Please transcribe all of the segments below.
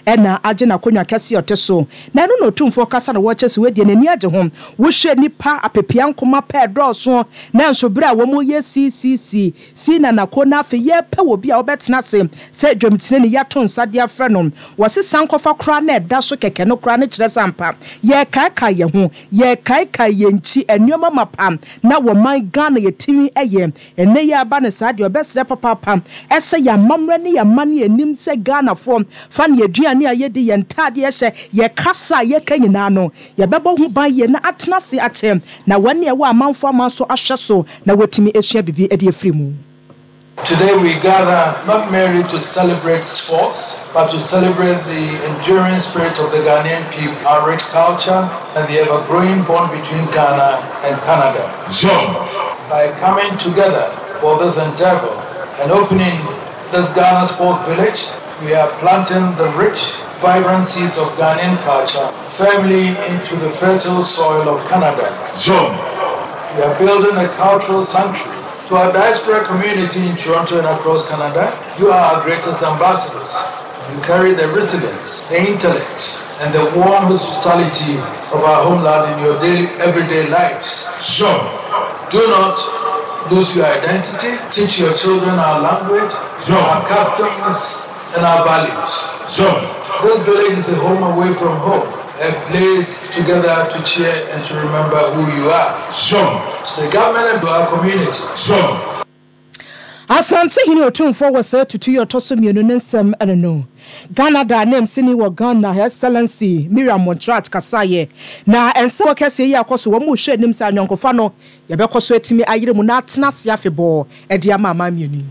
Na agye n'akonnwa kɛse a ɔte so, na ɛno na Otumfoɔ kasa na wɔkyɛ sɛ wɔadi n'ani agye ho. Wohwɛ nnipa apepeankoma pɛ ɛdɔɔso, nanso bere a wɔyɛ CCC, si na nako na afei yɛrepɛ obi a ɔbɛtena ase sɛ dwamtenani yɛato nsa de afrɛ no. Wɔse sankɔfa koraa na ɛda so kɛkɛ no koraa no kyerɛ sɛ ampa yɛrekaekae yɛn ho, yɛrekaekae yɛn nkyi nneɛma mapa na wɔ man Ghana yɛtumi yɛ. Ɛnnɛ yi aba no saa deɛ ɔbɛsrɛ papaapa sɛ yɛn amammerɛ ne yɛn amanneɛ a yɛnim sɛ Ghanafoɔ fa ne yɛn aduane a yɛdi, yɛn ntaadeɛ a yɛhyɛ, yɛn kasa a yɛka nyinaa no, yɛbɛbɔ ho ban yie na atena ase akyɛ na wɔn a ɛwɔ amanfoɔ aman so ahwɛ so na wɔatumi asua biribi de afiri mu. Today we gather not merely to celebrate sports, but to celebrate the enduring spirit of the Ghanaian people, our rich culture, and the ever-growing bond between Ghana and Canada. John. By coming together for this endeavor and opening this Ghana Sports Village, we are planting the rich, vibrant seeds of Ghanaian culture firmly into the fertile soil of Canada. John. We are building a cultural sanctuary. To our diaspora community in Toronto and across Canada, you are our greatest ambassadors. You carry the resilience, the intellect, and the warm hospitality of our homeland in your daily, everyday lives. Sure. Do not lose your identity. Teach your children our language, sure. our customs, and our values. Sure. This village is a home away from home, a place together to cheer and to remember who you are. Sure. To the government and to our community. Sure. Asantehene Otumfoɔ wɔ saa tutu yi a ɔtɔ so mmienu ne nsɛm ne no. Ghana da ananmusini wɔ Ghana, Her Excellency Miriam Montserrat kasaeɛ. Na nsɛm kɛseɛ yi akɔ so, wɔn rehwɛ anim sɛ ayɔnkofa no yɛbɛkɔ so atumi ayere mu na atena ase afebɔɔ de ama aman mmienu yi.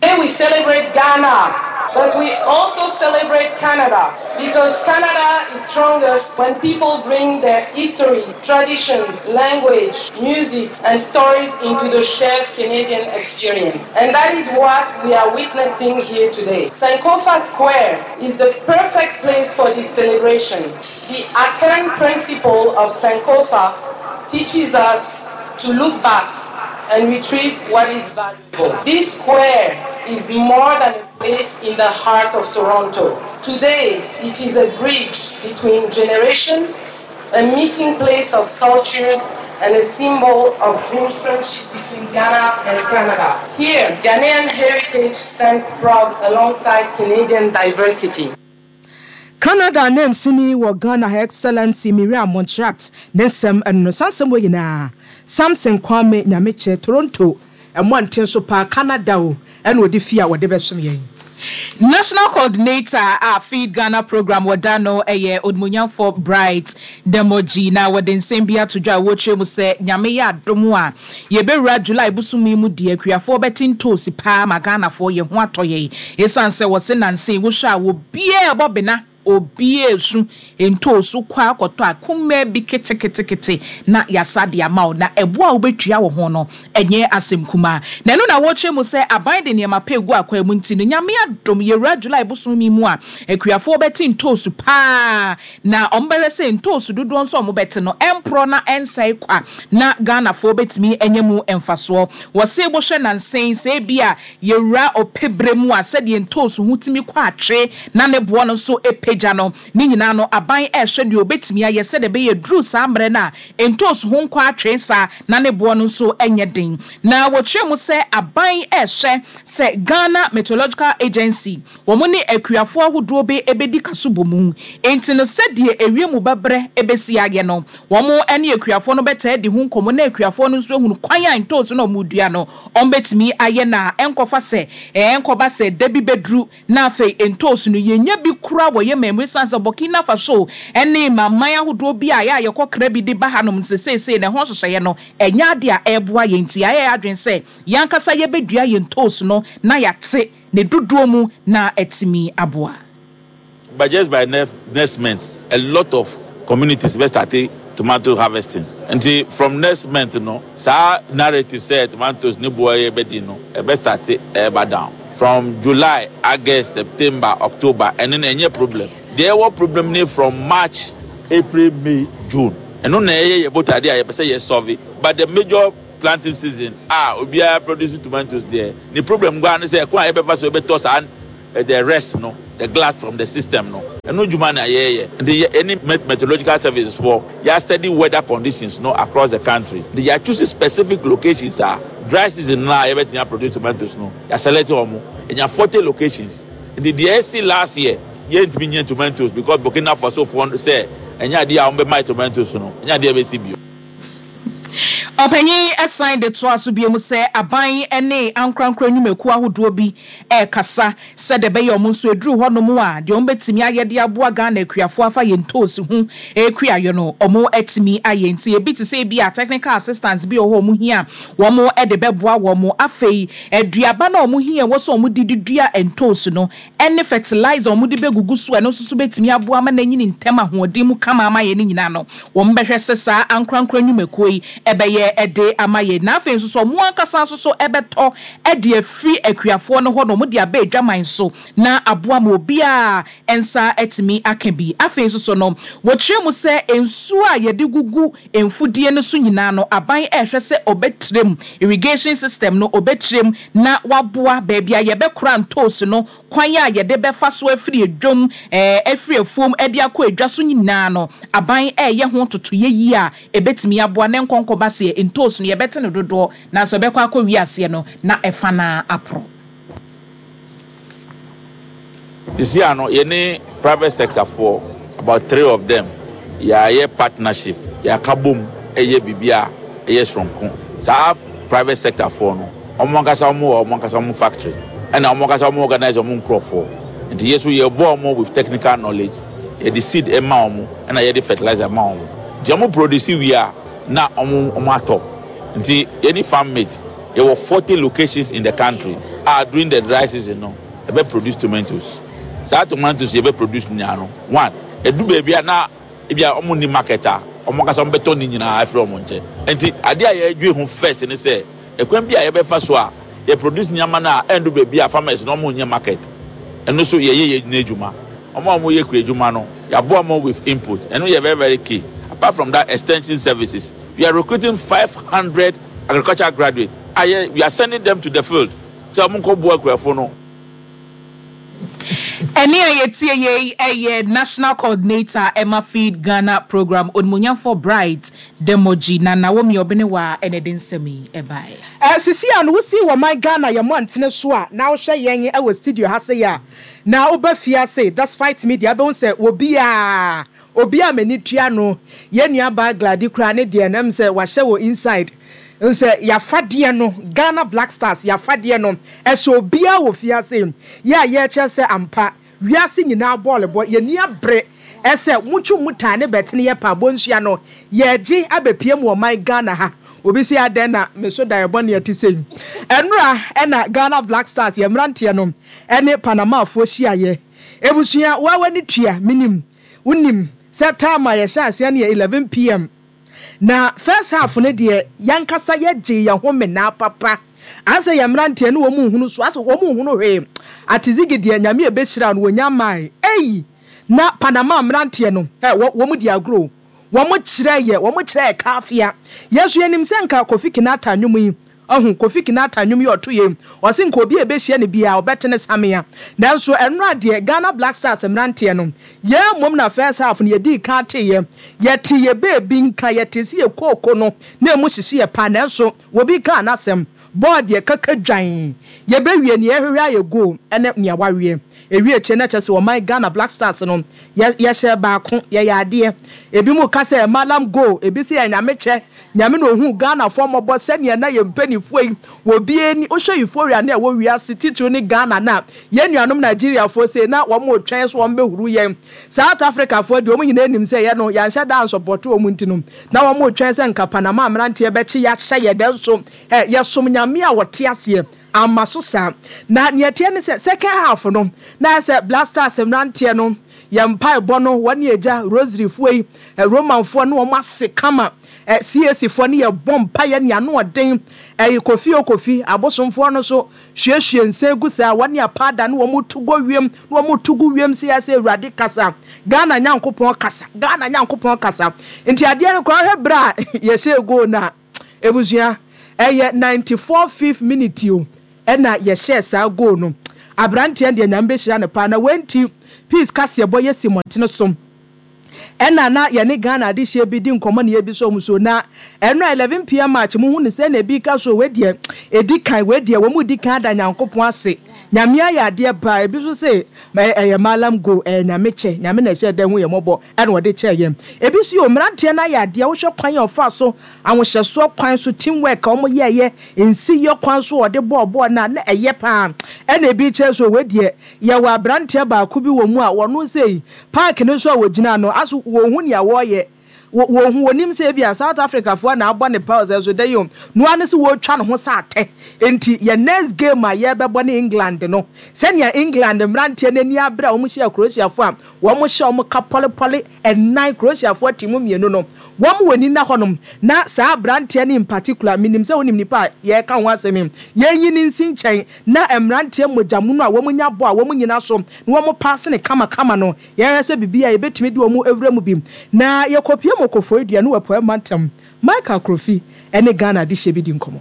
Today we celebrate Ghana, but we also celebrate Canada because Canada is strongest when people bring their history, traditions, language, music, and stories into the shared Canadian experience. And that is what we are witnessing here today. Sankofa Square is the perfect place for this celebration. The Akan principle of Sankofa teaches us to look back and retrieve what is valuable. This square is more than a place in the heart of Toronto. Today, it is a bridge between generations, a meeting place of cultures, and a symbol of friendship between Ghana and Canada. Here, Ghanaian heritage stands proud alongside Canadian diversity. Canada ananmusini wɔ Ghana Her Excellency Miriam Montserrat ne nsɛm no no. Saa nsɛm wei nyinaa, Samson Kwame Nyamekyɛ, Toronto mmɔnten so paa, Canada o, ɛna ɔde fie a wɔde bɛsom yɛn. National Coordinator a Feed Ghana Programme wɔ da no yɛ Onimuonyamfoɔ Bright Demogy na wɔde nsɛm bi ato dwa a wɔrekyerɛ mu sɛ Nyame yɛ adom a yɛbɛwura July bosome yi mu deɛ akuafoɔ bɛte ntoosi paa ma Ghanafoɔ yɛn ho atɔ yɛn ɛsiane sɛ wɔse nansa yi wohwɛ a obiara ɛbɔ bena obiara ɛsu ntoosi kɔ ara kɔtɔ a kumaa bi keteketekete na yɛasa de ama wo na ɛboɔ a wobɛtua wɔ ho no ɛnyɛ asɛm kumaa. Na ɛno na wɔrekyerɛ mu sɛ aban de nneɛma pa regu akwan mu nti no, Nyame adom, yɛwura July bosome yi mu a, akuafoɔ bɛte ntoosu pa ara, na wɔbɛhwɛ sɛ ntoosu dodoɔ nso a wɔbɛte no, ɛmporɔ na ɛnsɛe kwa, na Ghanafoɔ bɛtumi anya mu mfasoɔ. Wɔse wohwɛ nansa yi, sɛ ebia yɛwura ɔpɛ berɛ mu a, sɛdeɛ ntoosu ho tumi kɔ atwe na ne boɔ no nso pagya no, ne nyinaa no, aban rehwɛ deɛ ɔbɛtumi ayɛ sɛdeɛ ɛbɛyɛ ɛduru saa mmerɛ no a, Ntoosi ho nkɔ atwee saa na ne boɔ no nso nyɛ den. Na wɔkyerɛ mu sɛ aban rehwɛ sɛ Ghana Meteorological Agency wɔn ne akuafoɔ ahodoɔ bɛ bɛdi kasobɔ mu. Enti no sɛdeɛ ewiem bɛbrɛ bɛsi ayɛ no, wɔn ne akuafoɔ no bɛtaa adi ho nkɔmmɔ na akuafoɔ no nso ahunu kwan a ntoosi no a wɔredua no wɔbɛtumi ayɛ no a ɛnkɔfa sɛ ɛnkɔba sɛ da bi bɛduru Na afei ntoosi no, yɛnnya bi koraa wɔ yɛn man mu ɛsiane sɛ Burkina Faso ne aman ahodoɔ bi a ɛyɛ a yɛkɔkra bi de ba hanom no sɛ seesei no ɛho nhyehyɛeɛ no ɛnyɛ adeɛ a ɛreboa yɛn nti yɛayɛ yɛn adwene sɛ yɛn ankasa yɛbɛdua yɛn ntoosi no na yɛate ne dodoɔ mu na atumi aboa. But just by next month a lot of communities bɛ starte tomato harvesting nti from next month no saa narrative sɛ tomatoes ne boɔ yɛ bɛ den no ɛbɛ starte ɛɛba down from July, August, September, October ɛno no ɛnyɛ problem deɛ ɛwɔ problem ne from March, April, May, June ɛno na ɛyɛ yɛ botadeɛ a yɛpɛ sɛ yɛ solve but the major planting season a obiara produce tomatoes deɛ ne problem koraa ne sɛ ɛkwan a yɛbɛfa so ɛbɛtɔ saa the rest no. the glut from the system no, ɛno dwuma na yɛreyɛ. Nti yɛne Meteorological Services foɔ yɛ study weather conditions no across the country. Nti yɛ choose specific locations a dry season no a yɛbɛtumi a produce tomatoes no, yɛ select wɔn. Yɛnya 40 locations. Nti deɛ ɛsi last year yɛntumi nyɛ tomatoes because Burkina Faso foɔ sɛ ɛnyɛ adeɛ a wɔbɛma yɛ tomatoes no, ɛnyɛ adeɛ a ɛbɛsi bio. Ɔpanyin yi san de toaa so bio sɛ aban ne ankorankoro nnwumakuo ahodoɔ bi rekasa sɛdeɛ ɛbɛyɛ wɔn nso ɛduru hɔnom a deɛ wɔbɛtumi ayɛ de aboa Ghana akuafoɔ afa yɛn ntoosi ho kuayɔ no wɔatumi ayɛ. Nti ebi te sɛ ebia technical assistance bi wɔ hɔ a wɔhia a wɔde bɛboa wɔn. Afei aduaba no a wɔhia a ɛwɔ sɛ wɔde de dua ntoosi no ne fertilizer a wɔde bɛgugu so a ɛno nso so bɛtumi aboa ama no anyini ntɛm ahoɔden mu kama ama yɛn no nyinaa no, wɔbɛhwɛ sɛ saa ankorankoro nnwumakuo yi bɛyɛ de ama yɛn. Na afei nso so wɔn ankasa nso so bɛtɔ de afiri akuafoɔ no hɔ na wɔde aba adwaman so na aboa ma obiara nsa atumi aka bi. Afei nso so no, wɔkyerɛ mu sɛ nsuo a yɛde gugu mfudie no so nyinaa no, aban rehwɛ sɛ ɔbɛtrɛ mu, irrigation system no, ɔbɛtrɛ mu na waboa baabi a yɛbɛkora ntoosi no, kwan a yɛde bɛfa so afiri dwam, afiri afuom de akɔ adwa so nyinaa no, aban reyɛ ho ntotoeɛ yie a ɛbɛtumi aboa na nkɔnkɔba seɛ ntoosi no yɛbɛte no dodoɔ nanso ɛbɛkɔ akɔwie aseɛ no na ɛfa no ara aporɔ. Sisi ano yɛne private sector foɔ about three of them yɛayɛ partnership, yɛaka bom ɛyɛ biribi a ɛyɛ soronko. Saa private sector foɔ no wɔn ankasa wɔn wɔ wɔn ankasa wɔn factory ɛna wɔn ankasa wɔn organize wɔn nkorɔfoɔ. Nti yɛ nso yɛboa wɔn with technical knowledge, yɛde seed ma wɔn ɛna yɛde fertilizer ma wɔn. Nti wɔn produce wie a na wɔn wɔn atɔ. Nti yɛne farm mate yɛwɔ 40 locations in the country a during the dry season no yɛbɛ produce tomatoes. Saa tomatoes yɛbɛ produce nyinaa no, one, ɛdu baabi a na ebia wɔn nni market a, wɔn ankasa wɔn bɛtɔ ne nyinaa afiri wɔn nkyɛn. Nti adeɛ a yɛdwe ho first ne sɛ, ɛkwan bi a yɛbɛfa so a yɛ produce nneɛma no a ɛndu baabi a farmers no wɔn nyɛ market. Ɛno nso yɛyɛ yɛn adwuma. Wɔn a wɔyɛ kuadwuma no, yɛaboa wɔn with input. Ɛno yɛ very very key. Apart from that, extension services. We are recruiting 500 agricultural graduates a yɛ we are sending them to the field sɛ wɔn nkɔ boa akuafo no. Ɛnne a yɛtie yei yɛ National Coordinator ma Feed Ghana Programme, Onimuonyamfoɔ Bright Demogy, na Naomi Obenewaa na ɛde nsɛm yi baeɛ. Sisi a no wosi wɔ man Ghana yɛ mmɔntene so a na wohwɛ yɛn wɔ studio ha sei a na woba fie ase despite media wobɛhu sɛ obiara Obi a m'ani tua no, yɛn nua baa Glady koraa ne deɛ no ɛm sɛ wahyɛ wɔ inside. N sɛ y'afadeɛ no, Ghana Black Stars y'afadeɛ no, ɛhyɛ obiara wɔ fie ha sei. Yɛ a yɛrekyerɛ sɛ ampa, wiase nyinaa bɔɔl bɔ, yɛn ani abere sɛ motwe mo tan ne bɛtene yɛ paa bonsua no, yɛregye abɛpue mu ɔman Ghana ha. Obi se adɛn na me so daeɛ bɔne ɛte sei. Ɛnora ɛna Ghana Black Stars yɛn mmeranteɛ no ɛne Panamafoɔ hyiaeɛ. Ebusua, wo a w'ani tua, menim, wonim, sɛ time a yɛhyɛ aseɛ no yɛ 11 PM. Na first half no deɛ, yɛankasa yɛgyee yɛn ho menaa papa. Asɛ yɛn mmeranteɛ no wɔn nhunu so, asɛ wɔn nhunu hwee. Atizigi deɛ, Nyame ɛbɛhyira no, wɔnya mmae. Ei! Na Panama mmeranteɛ no, ɛ, wɔ, wɔn di agorɔ o. Wɔn kyerɛ yɛ, wɔn kyerɛ yɛ kaafea. Yɛn nso yɛnim sɛ nka Kofi Kinata nnwom yi, Wahu, Kofi Kinata nnwom yi a ɔto yei, ɔse nka obi a ɛbɛhyia no biara ɔbɛte ne samea. Nanso ɛnora deɛ Ghana Black Stars mmeranteɛ no, yɛn mmom na first half no yɛdii kan teeɛ. Yɛtee yɛn baabi nka, yɛtee sɛ yɛn kooko no na ɛmu hyehye yɛn paa nanso obi kaa n'asɛm, bɔɔl deɛ kaka dwan. Yɛbɛwie nea yɛhwehwɛ ayɛ goal ne nea waweɛ. Ɛwie akyire na kyerɛ sɛ ɔman Ghana Black Stars no, yɛ, yɛhyɛɛ baako, yɛyɛ adeɛ. Ebinom ka sɛ Mallam goal, ebi se yɛ Nyame kyɛ. Nyame na ohuu Ghanafoɔ mmɔbɔ sɛdeɛ na yɛn mpaninfoɔ yi wɔ bi ani, wohwɛ euphoria no a ɛwɔ wiase titiriw ne Ghana no a, yɛn nuanom Nigeriafoɔ sei na wɔn retwɛn sɛ wɔn bɛhuru yɛn. South Africafoɔ deɛ wɔn nyinaa nim sɛ yɛn no yɛanhyɛ da ansɔpɔto wɔn nti no na wɔn retwɛn sɛ nka Panama mmeranteɛ bɛkye yɛn ahyɛ yɛn nanso eh, yɛsom Nyame a ɔte aseɛ, amma so saa. Na nea ɛteɛ ne sɛ second half no na ayɛ sɛ Black Stars mmeranteɛ no Yɛn mpaebɔ no, wɔne Agya, Rosary foɔ yi, Roman foɔ ne wɔn ase kama, CAC foɔ ne yɛ bɔ mpaeɛ ne ano ɔden, ɛyi Kofi o Kofi, abosomfoɔ no nso hwiehwie nsa gu saa, wɔne apaada ne wɔn tu go wiem, ne wɔn tu gu wiem sɛ yɛ sɛ Awurade kasa, Ghana Nyankopɔn kasa, Ghana Nyankopɔn kasa. Nti adeɛ no koraa wohwɛ berɛ a yɛhyɛɛ goal no a, abusua, ɛyɛ 94 fifth minute o, ɛna yɛhyɛɛ saa goal no. Abranteɛ no deɛ Nyame bɛhyira no paa na wei nti Peace kaseɛbɔ yɛ si mmɔntene so. Ɛna na yɛne Ghana adehyeɛ bi di nkɔmmɔ na yɛbisa wɔn so na ɛno a 11 pm march mo hu no sɛ na ebi ka so wei deɛ ɛdi kan wei deɛ wɔn redi kan ada Nyankopɔn ase Nyame ayɛ adeɛ paa ebi nso se ɛyɛ Mallam go ɛyɛ Nyame kyɛ Nyame na ɛhyɛɛ da hu yɛn mmɔbɔ ɛna ɔde kyɛɛ yɛn ebi nso yɛ mmeranteɛ no ayɛ adeɛ wohwɛ kwan a ɔfaa so ahohyɛsoɔ kwan so team work a wɔn yɛɛyɛ nsiyɔ kwan so ɔde bɔɔ bɔɔl no a na ɛyɛ paa ɛna ebi kyerɛ so wei deɛ yɛwɔ abranteɛ baako bi wɔ mu a wɔno sei Park no so a wɔgyina no, aso wɔnhu nea wɔreyɛ? Wɔ, wɔnhu, wɔnim sɛ ebia South Africafoɔ na abɔ ne paa sɛ so dɛn o, no ara ne sɛ wɔretwa ne ho sɛ atɛ. Enti yɛn next game a yɛrebɛbɔ ne England no, sɛnea England mmeranteɛ no ani abere a wɔhyiaa Croatiafoɔ a wɔhyɛɛ wɔn ka pɔlepɔle nnan, Croatiafoɔ te mu mmienu no, wɔn wɔ ani nna hɔnom. Na saa aberanteɛ no in particular, menim sɛ wonim nipa a yɛreka ho asɛm yi, yɛnyi no nsi nkyɛn na mmeranteɛ mogyamono a wɔnya bɔ a wɔnyina so na wɔpaase no kamakama no, yɛnhwɛ sɛ biribi a yɛbɛtumi de wɔn awura mu bi. Na yɛkɔpue mu Koforidua ne wɔ Apueɛ Mantam. Michael Akrofi ne Ghana adehyeɛ bi di nkɔmmɔ.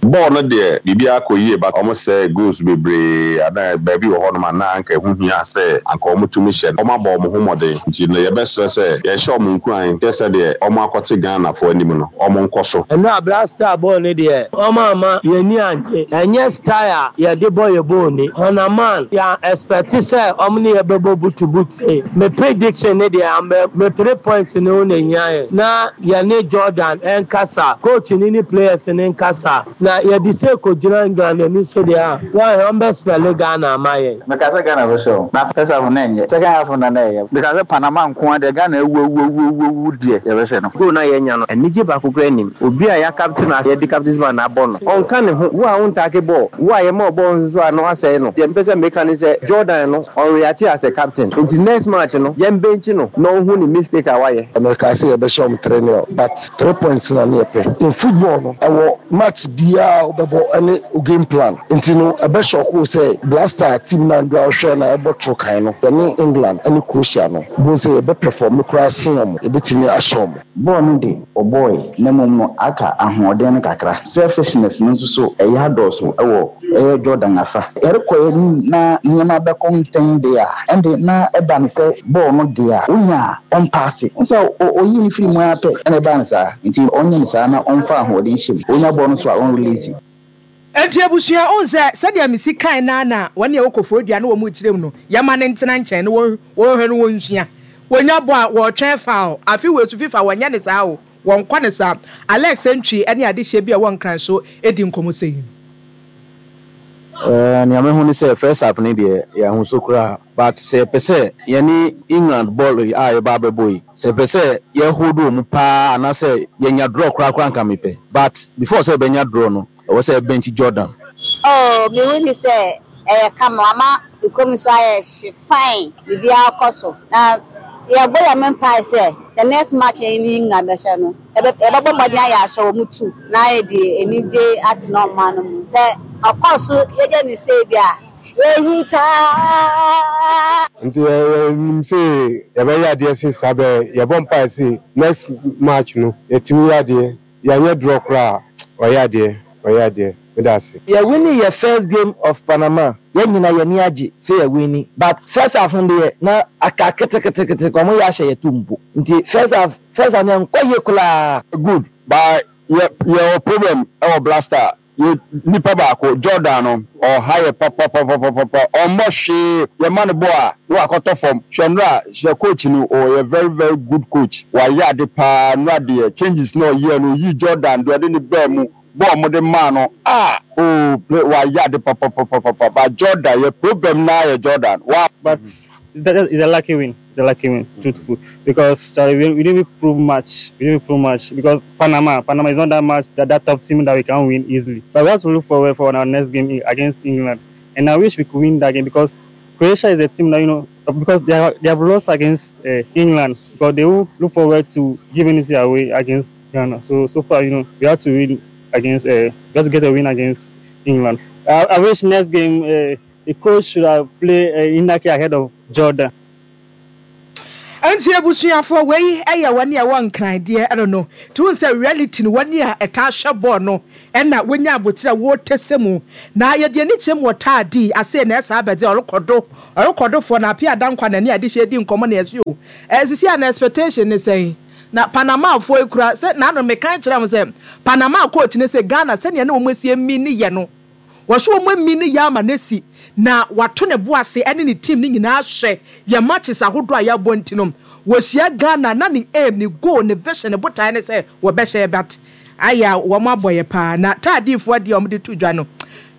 Bɔɔl no deɛ biribiara kɔ yie but wɔn sɛɛ goals bebree a na baabi wɔ hɔ nom a na anka ɛho hia sɛ anka wɔn tumi hyɛ no. Wɔn abɔ wɔn ho mmɔden nti no yɛbɛsrɛ sɛ yɛhyɛ wɔn nkuran hwɛ sɛdeɛ wɔn akɔte Ghana foɔ anim no wɔn nkɔ so. Ɛno a Black Star bɔɔl no deɛ wɔn amma yɛn ani angye. Ɛnyɛ style a yɛde bɔ yɛ bɔɔl ni. Hɔnaman, yɛn expect sɛ wɔn ne yɛ bɛbɔ boot to boot sei. Me prediction ne deɛ ambɛ me three points no na ehia yɛn. Na yɛne Jordan nkasa, coach no ne players no nkasa. Na yɛde sei kɔgyina England ani so deɛ a, wɔn wɔn bɛ spɛle Ghana ama yɛn. Mekaa sɛ Ghana bɛhyɛ o. Na first half no na ɛnyɛ. Second half no na na ɛyɛ. Mekaa sɛ Panama nko ara deɛ Ghana awu awu awu awu awu deɛ yɛbɛhyɛ no. Goal no a yɛanya no, anigye baako koraa nnim. Obi a yɛakapte no a yɛde captaincy band abɔ no, ɔnka ne ho. Wo a wontaake bɔɔl, wo a yɛma wo bɔɔl nso so a na woasɛe no. Deɛ mepɛ sɛ meka ne sɛ Jordan no, ɔnreacte as a captain. Nti next match no, yɛmbenkye no na ɔnhu ne mistake a wayɛ. Mekaa sɛ yɛbɛhyɛ wɔn three nil but three points na ne yɛpɛ. In football no, ɛwɔ match biara a wobɛbɔ ne wo game plan. Nti no ɛbɛ shock wo sɛ Black team no a ndura wohwɛ na ɛbɔ toro kan no, yɛne England ne Croatia no, wobɛhu sɛ yɛbɛ perform koraa sen wɔn, yɛbɛtumi ahyɛ wɔn. Bɔɔl no de, wɔbɔɔe, na mmom no aka ahoɔden no kakra. Selfishness no nso so ɛyɛ adɔɔso wɔ ɛyɛ Jordan afa. Yɛrekɔ yɛn anim na nneɛma bɛkɔ ntɛn de a, ɛnde na ɛba no sɛ bɔɔl no de a, onya a, ɔmpaase. Wohu sɛ oyii no firii mu ara pɛ na ɛbaa no saa. Nti ɔnyɛ no saa na ɔmfa ahoɔden nhyɛ mu. Onya bɔɔl no nso a, ɔnrelease. Enti abusua, wohu sɛ sɛdeɛ mesi kae no ara na wɔn a ɛwɔ Koforidua ne wɔn rekyerɛ mu no, yɛmma no ntena nkyɛn na wɔnhwɛ no wɔnsua. Wɔnya bɔ a, wɔretwɛn foul. Afe wei nso FIFA wɔnyɛ no saa o, wɔnkɔ no saa. Alex Antwi ne adehyeɛ bi a ɛwɔ Nkran so di nkɔmmɔ sei. Eh, nea mehu ne sɛ first half no deɛ yɛanhu so koraa but sɛ yɛpɛ sɛ yɛne England bɔɔl yi a yɛba abɛbɔ yi, sɛ yɛpɛ sɛ yɛ hold wɔn paa anaasɛ yɛnya draw koraa koraa anka mepɛ but before sɛ yɛbɛnya draw no ɛwɔ sɛ yɛ bench Jordan. Oh me hu ni sɛ ɛyɛ kama wama me kurom nso ayɛ hye fine biribiara kɔ so na yɛbɔ Nyame mpae sɛ the next match a yɛne England bɛhyɛ no yɛbɛbɔ mmɔden ayɛ ahyɛ wɔn tu na yɛde anigye atena ɔman no mu sɛ ɔkɔ so yɛyɛ no sei deɛ a yɛhitaa. Nti yɛnim se yɛbɛyɛ adeɛ se saa bɛ yɛbɔ mpaeɛ se next match no yɛtumi yɛ adeɛ yɛanyɛ draw koraa a ɔyɛ adeɛ ɔyɛ adeɛ meda ase. Yɛ winni yɛ first game of Panama yɛ nyina yɛ ani agye sɛ yɛ winni but first half no deɛ na aka ketekete ɔmo yɛ ahyɛ yɛ to mpo nti first half first half no ɛnkɔ yie koraa. Good but yɛ yɛwɔ problem wɔ blaster yɛ nipa baako Jordan no ɔha yɛ papapapapapa ɔmmɔ hwee yɛ ma no bɔ a na wakɔtɔ fam hwɛ nnora hwɛ coach no ɔyɛ very very good coach wayɛ ade paa nnora deɛ changes na ɔyɛɛ no ɔyii Jordan deɛ ɔde no baa mu bɔɔl ɔmo de maa no ah oh play wayɛ ade papapapapa but Jordan yɛ problem naa yɛ Jordan wa. But that is a lucky win. It's a lucky win, truthful. Because Charlie, we didn't prove much. We didn't prove much because Panama, Panama is not that much that, that top team that we can win easily. But we have to look forward for our next game against England. And I wish we could win that game because Croatia is a team that you know because they have, they have lost against uh, England, but they will look forward to giving it away against Ghana. So so far, you know, we have to win against uh, we have to get a win against England. I, I wish next game uh, the coach should have played uh, Inaki ahead of Jordan. Nti abusuafoɔ wei yɛ wɔn a ɛwɔ Nkran deɛ ɛno no nti wohu sɛ reality no wɔn a ɛtaa hwɛ bɔɔl no Ɛna wonya abotire a wɔretɛsɛ mu na yɛde ani kyerɛ mu wɔ taa di ase na ɛsaa bɛdze ɔrokɔ do ɔrokɔ do foɔ na Appiah Dankwa na ɛne Adehyeɛ di nkɔmmɔ na yɛse o ɛɛ sisi a na expectation ne sɛn na Panama foɔ yi kura sɛ naano mekan kyerɛ mo sɛ Panama coach ne se Ghana sɛnea ne wɔn asi ami ne yɛ no Wɔso wɔn ami ne yɛ ama no asi na wato ne bo ase ɛne ne team no nyinaa ahwɛ yɛn matches ahodoɔ a yɛabɔ nti no wɔhyia Ghana na ne aim, ne goal, ne vision, ne botaeɛ ne sɛ wɔbɛhyɛ yɛ but ayɛ a wɔn abɔ yɛ paa na taadiifoɔ deɛ wɔn de to dwa no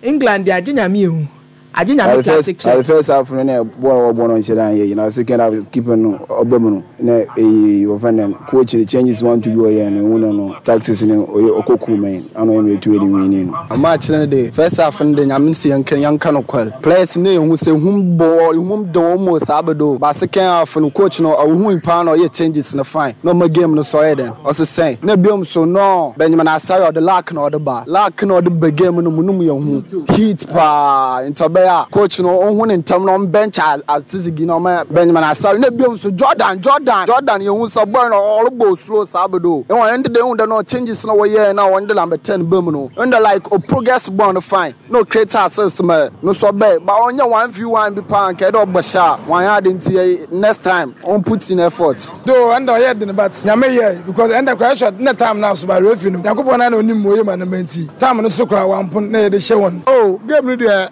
England deɛ agye Nyame ehu agye Nyame plastic chair. At the first half no na bɔɔl a wɔbɔ no nhyɛ da nyɛ yie na second half keeper no ɔba mu no na ɛyɛ yie wɔfrɛ no dɛn coach no changes one two bi ɔyɛɛ no ehu no no tactics no ɔyɛ ɔkɔ cool man ana ɔyɛ ma etu yɛde winning no. Match no de first half no de Nyame se yɛnka yɛnka nokwar players no ehu sɛ ehum bɔ ehum de wɔn mu saa bɛdo but second half no coach no ɔhui paa na ɔyɛ changes no fine na ɔma game no so ɔyɛ dɛn ɔsesɛn na biom so no Benjamin Asare ɔde luck na ɔde ba luck na ɔde ba game no mu no mu yɛ hu heat paa nti ɔbɛyɛ a coach no ɔnhu ne ntɛm na ɔmbench Atizigi na ɔma Benjamin Asare na biom so Jordan Jordan Jordan yɛ hu sɛ boy no ɔrebɔ slow saa bɛdo ɛwɔ ɛnde de ehu dɛ no changes na wɔyɛɛ na wɔn de number 10 ba mu no ɛnde like o progress ball no fine na o create assist ma no so ɔbɛyɛ but ɔnyɛ 1v1 bi paa nka ɛdɛ ɔbɔ hyɛ a wɔanyɛ ade nti yɛ next time ɔn put in effort. Though ɛnda ɔyɛ den but Nyame yɛe because ɛnda koraa ɛhwɛ na time no aso but referee no Nyankopɔn naa na onim ma oye ma no ma nti time no so koraa wampon na yɛde hyɛ wɔn. Oh game no deɛ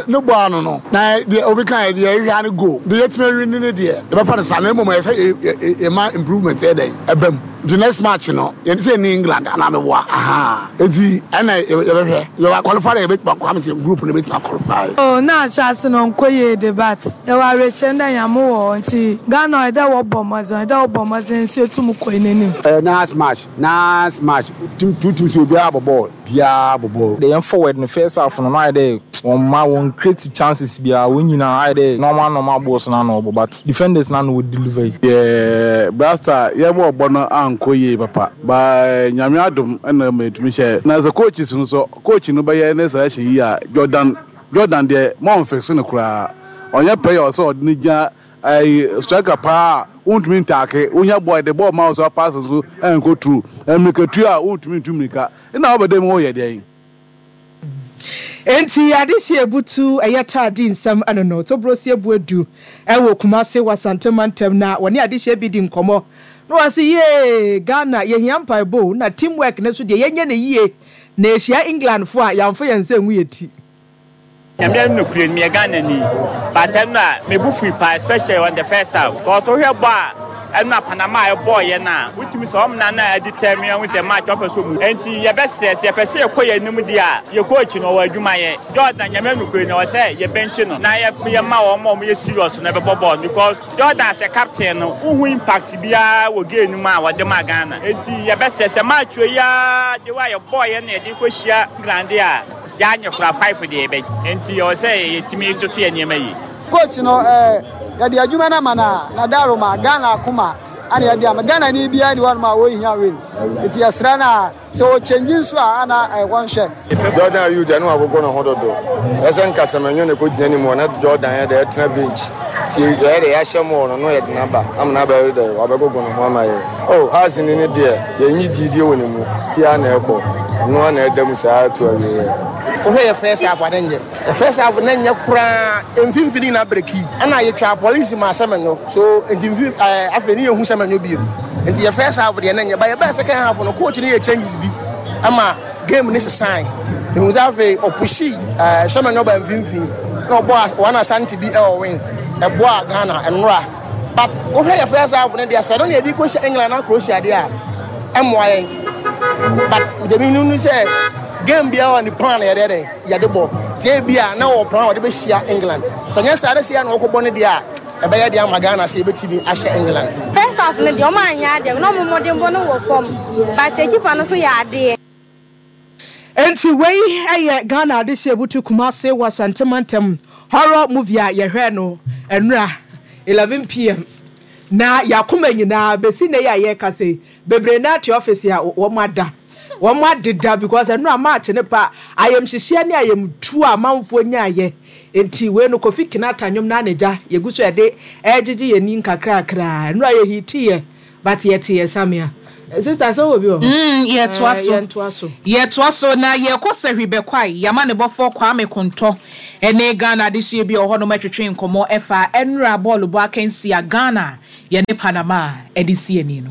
ne bɔ ano no na deɛ obi kan yɛ deɛ yɛhwɛ ne goal deɛ yɛtumi awi ne ne deɛ yɛbɛfa no saa na mmom ɛyɛ sɛ yɛma improvement yɛ dɛn ɛba mu. Nti next match no yɛn sɛ ni England anaa meboa ahaa nti ɛna yɛbɛhwɛ yɛbɛ qualify dɛ yɛbɛtumi akɔ ame sɛ group no yɛbɛtumi aqualify. Oh na ahyɛase no ɔnnkɔ yie de but yɛwɔ awerɛhyɛmu dɛ Nyame wɔ hɔ ntsi Ghana ɔyɛ dɛ wɔbɔ mbɔdzen ɔyɛ dɛ wɔbɔ mbɔdzen so etum kɔ hɛn enyim. Ɛyɛ nice match nice match team two teams yi obiara bɔ bɔɔl biara bɔ bɔɔl. Yɛn forward no first half no na ayɛ dɛ wɔn mma wɔn create chances biara wɔn nyinaa ayɛ dɛ normal normal balls no na wɔbɔ but defenders no na wɔ deliver yi. Yɛ Blaster yɛ bɔɔl bɔ no ankɔ yie papa but Nyame adom na ɛma yɛtumi hyɛɛ na sɛ coaches no sɛ coach no bɛyɛ ne selection yie a Jordan Jordan deɛ ma ɔnfixe no koraa ɔnyɛ player ɔsɛ ɔde no gyina ɛyi striker paa a wontumi ntaake wonya bɔɔl yɛde bɔɔl ma wo sɛ pass nso ɛnkɔ through mmirikatuo a wontumi ntu mmirika nna wobɛda mu woyɛ dɛn. Enti adehye ebutu ɛyɛ taa di nsɛm ɛno no Tobrosi Abuadu ɛwɔ Kumase wɔ Asante mantam na wɔne adehyeɛ bi di nkɔmmɔ na wɔse yee Ghana yɛhia mpaebɔ o na team work no nso deɛ yɛnyɛ no yie na yɛhyia England foɔ a yɛamfa yɛn nsa angu yɛn ti. Nyame anim nokorɛ ni meyɛ Ghana ni but ɛno a me bo fui paa especially on the first half cause wohwɛ bɔ a ɛno a Panama a ɛbɔɔ yɛ no a wotumi sɛ wɔn na na ɛdetermine ahu sɛ match wɔpɛ sɛ ɔmu enti yɛbɛsrɛ sɛ yɛpɛ sɛ yɛkɔ yɛn anim deɛ a yɛ coach no ɔwɔ adwuma yɛ Jordan Nyame anim nokorɛ ni ɔwɔ sɛ yɛ bɛnkye no na yɛ yɛma wɔn a wɔyɛ serious no ɛbɛbɔ bɔɔl because Jordan sɛ captain no wohu impact biara wɔ game no mu a wɔde ma Ghana enti yɛbɛsrɛ sɛ match yi ara de wa yɛbɔɔ yɛ na yɛde kɔhyia England deɛ a Yɛanyɛ koraa five deɛ yɛbɛgye nti ɛwɔ sɛ yɛtumi toto yɛn nneɛma yie. Coach no eh, yɛde adwuma no ama no a, na Daroma, Ghana akoma ana yɛde ama. Ghana ni biara ni hɔnom a ɔnhia win. Nti yɛsrɛ no a, sɛ ɔkyɛngyi nso a, ana eh, wɔnhwɛ. Jordan Ayew deɛ na wagogo ne ho dodo. Ɛsɛ nka Semenyo na ɛkɔgyina ne mu na Jordan yɛ dɛ ɛtena bench. Ti yɛyɛ dɛ yɛahyɛ mɔɔ no na yɛde no aba ama no abɛyɛ dɛ wabɛgogo ne ho ama yɛ. Oh, Hearts ni no deɛ yɛnyi gyidie wɔ ne mu. Biara na ɛkɔ. Ɔno ara na ɛda mu saa to awieɛ. Wohwɛ yɛ first half a na nyɛ. Yɛ first half na nyɛ koraa. Mfimfini nyinaa breki. Ɛna yɛtwaa police maa Semenyo. So nti mfim ɛɛ afei ne yɛnhu Semenyo bio. Nti yɛ first half deɛ na nyɛ. But yɛbɛɛ second half no coach no yɛ changes bi ɛma game no sesae. Mehu sɛ afei ɔpushii ɛɛ Semenyo baa mfimfini na ɔbɔɔ one Asante bi ɛwɔ wings. Ɛboaa Ghana nnora. But wohwɛ yɛ first half no deɛ sɛ ɛno na yɛde kɔhyɛ England na Croatia deɛ a ɛmmoa yɛn. But deɛ menim ne sɛ game biara wɔ ne plan na yɛde dɛn yɛde bɔ. Nti ebi a na wɔ plan wɔde bɛhyia England. Sɛ nyɛ saa na sɛ yɛ na wɔkɔbɔ no deɛ a ɛbɛyɛ deɛ ama Ghana sɛ yɛbɛtumi ahyɛ England. First half no deɛ ɔmo anyɛ adeɛ na ɔmo mmɔdenbɔ no wɔ fam but keeper no nso yɛ adeɛ. Enti wei yɛ Ghana adehyeɛ butu Kumase wɔ Asante mantam horror movie a yɛhwɛɛ no nnora 11 pm na y'akoma nyinaa bɛsi nnɛ yi a yɛrekasa yi bebree no ara te office a wɔn ada wɔn adeda because nnora match no pa ayamhyehyeɛ ne ayamtuo a amanfoɔ nyaayɛ enti wei no Kofi Kinata nnwom no ara na gya yɛgu so yɛde ɛregyegye yɛn ani nkakrakra nnora yɛ hiitiiɛ But yɛte yɛ samea. Sister sɛ wowɔ bi wɔ hɔ? Mm, yɛtoa Ɛɛ, so. yɛntoa so. Yɛtoa so na yɛkɔ Sahwi Bɛkwae, Y'amanebɔfoɔ Kwame Kontɔ ne Ghana adehyeɛ bi a ɔwɔ hɔnom twetwee nkɔmmɔ ɛfa ɛnora bɔɔlobɔ akansie a Ghana yɛne Panama de si ani no.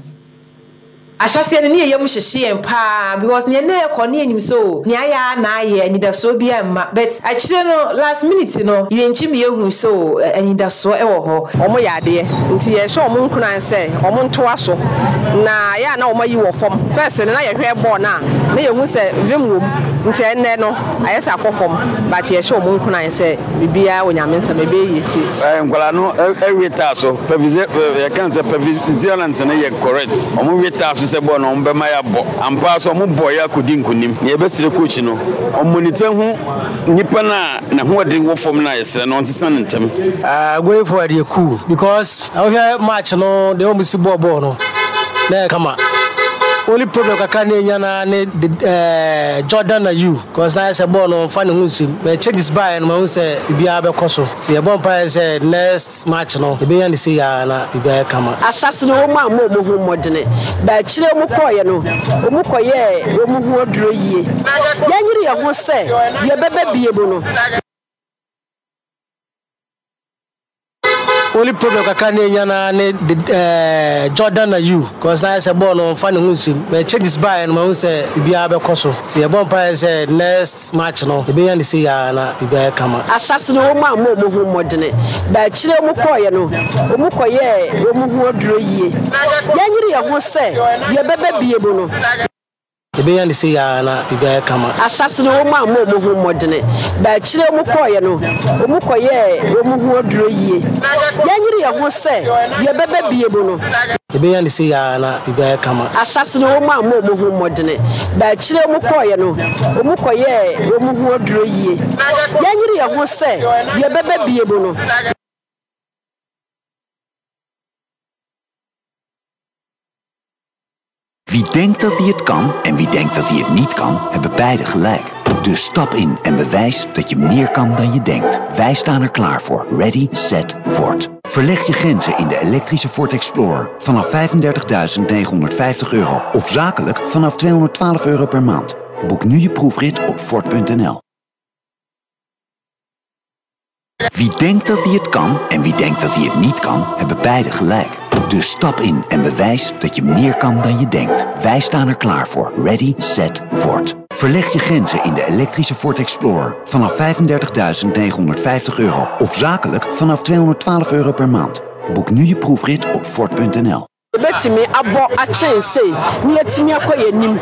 Ahyɛaseɛ no ne yɛn yam hyehye yɛn paa because neɛ na ɛrekɔ no yɛnim sɛ oh nea ayɛ ara na ayɛ anidasoɔ biara mma but akyire no last minute no yɛnkyim yɛhuu sɛ oh anidasoɔ wɔ hɔ. Wɔn yɛ adeɛ nti yɛhyɛ wɔn nkuran sɛ wɔn ntoa so na ɛyɛ a na wɔn ayi wɔ fam. First no na yɛhwɛ bɔɔl no a na yɛhu sɛ vim wɔ mu nti ɛnnɛ no ayɛ sɛ akɔ fam but yɛhyɛ wɔn nkuran sɛ biribiara wɔ Nyame nsam ɛbɛyɛ yie nti. Nkwadaa no we taa so yɛka no sɛ perseverance no yɛ correct. Wɔn we taa so sɛ bɔɔl no wɔn bɛma yɛabɔ. Ampa ara so wɔn bɔɔ yɛ akɔdi nkunim. Nea yɛbɛsrɛ coach no, ɔmonitor hu nipa no a n'ahoɔden wɔ fam no a yɛsrɛ no ɔnsesa no ntɛm. Going forward yɛ cool because wohwɛ match no deɛ wɔn si bɔɔ bɔɔl no na ɛyɛ kama. Only problem kakra na enya na ne de Jordan Ayew because na ayɛ sɛ bɔɔl no ɔnfa ne ho nsim but changes baeɛ no mahu sɛ biribiara bɛkɔ so nti yɛbɔ mpaeɛ sɛ next match no yɛbɛnya no sei ara na biribiara ayɛ kama. Ahyɛase no wɔn ammɔ wɔn ho mmɔdene, but akyire wɔn kɔeɛ no wɔn kɔyɛɛ wɔn ho aduro yie. Yɛnyere yɛn ho sɛ deɛ ɛbɛba bie mu no. Only problem kakra na enya na ne de Jordan Ayew cause na ayɛ sɛ bɔɔl no ɔnfa ne ho nsim but changes baeɛ no mahu sɛ biribiara bɛkɔ so nti yɛbɔ mpaeɛ sɛ next match no yɛbɛnya no sei ara na biribiara ayɛ kama. Ahyɛase no wɔn ammɔ wɔn ho mmɔdene, but akyire wɔn kɔeɛ no wɔn kɔyɛɛ wɔn ho aduro yie. Yɛnyere yɛn ho sɛ deɛ ɛbɛba bie mu no. Yɛbɛnya no sei ara na biribi ayɛ kama. Ahyɛase no wɔn ammɔ wɔn ho mmɔdene, but akyire wɔn kɔeɛ no wɔn kɔyɛɛ wɔn ho aduro yie. Yɛnyere yɛn ho sɛ deɛ ɛbɛba bie mu no. Yɛbɛnya no sei ara na biribi ayɛ kama. Ahyɛase no wɔn ammɔ wɔn ho mmɔdene, but akyire wɔn kɔeɛ no wɔn kɔyɛɛ wɔn ho aduro yie. Yɛnyere yɛn ho sɛ deɛ ɛbɛba bie mu no. Wie denkt dat hij het kan en wie denkt dat hij het niet kan, hebben beide gelijk. Dus stap in en bewijs dat je meer kan dan je denkt. Wij staan er klaar voor. Ready, set, Ford. Verleg je grenzen in de elektrische Ford Explorer vanaf 35.950 euro of zakelijk vanaf 212 euro per maand. Boek nu je proefrit op Ford.nl. Wie denkt dat hij het kan en wie denkt dat hij het niet kan, hebben beide gelijk. Dus stap in en bewijs dat je meer kan dan je denkt. Wij staan er klaar voor. Ready, set, Ford. Verleg je grenzen in de elektrische Ford Explorer vanaf 35.950 euro of zakelijk vanaf 212 euro per maand. Boek nu je proefrit op Ford.nl. Yɛbɛtumi abɔ akyɛn sei na yɛatumi akɔ yɛn anim.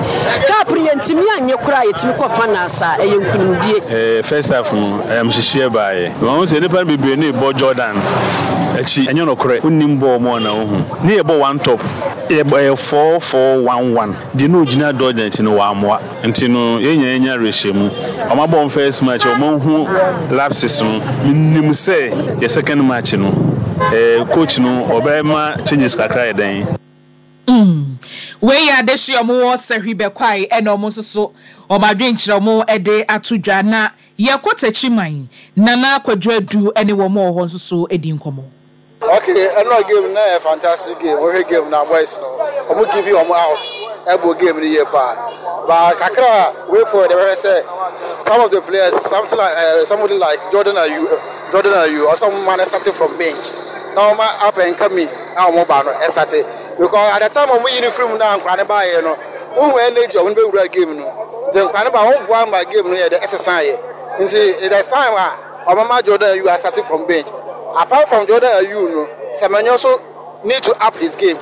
Cup no yɛntumi annye koraa a, yɛtumi kɔ finals a, ɛyɛ nkunimdie. First half no, ayamhyehyeɛ baeɛ. Mahu sɛ nnipa no bebree no rebɔ Jordan akyi. Ɛnyɛ nokorɛ. Wonnim bɔɔl mu a na wohu. Ne yɛbɔ one top. Yɛbɔ ɛyɛ 4-4-1-1. Deɛ na ɔgyina Jordan akyi no wammoa. Nti no yɛn nyinaa yɛnya awerɛhyɛmu. Wɔn abɔ wɔn first match, wɔn ahu lapses no. Menim sɛ yɛ second match no, eh, coach no ɔbɛma changes kakra ayɛ dɛn. Mm. Wei yɛ adehye a wɔwɔ Sahwi Bɛkwae ɛna wɔn nso so wɔn adwenkyerɛ wɔn de ato dwa. Na yɛkɔ Takyiman, Nana Kwadwo Adu ne wɔn a wɔwɔ hɔ nso so di nkɔmmɔ. Ok ɛnora game no na ɛyɛ fantastic game wohwɛ game no a boys no ɔmo give ɔmo out ɛbɔ game no yie paa but kakra a way forward ɛbɛhwɛ sɛ some of the players something like uh, somebody like Jordan Ayew eh, Jordan Ayew ɔsɛ ɔmo ma no starting from bench na ɔmo up and coming a ɔmo ba no ɛsate because at the time ɔmo yi no firi mu na nkwa no baayɛ no wohu energy ɔmo bɛwura game no nti nkwa no ba ɔmo boa ma game no yɛ dɛ ɛsesa yɛ nti it is time a Ɔmama Jordan Ayew asate from bench. Apart from Jordan Ayew no, Semenyo nso need to up his game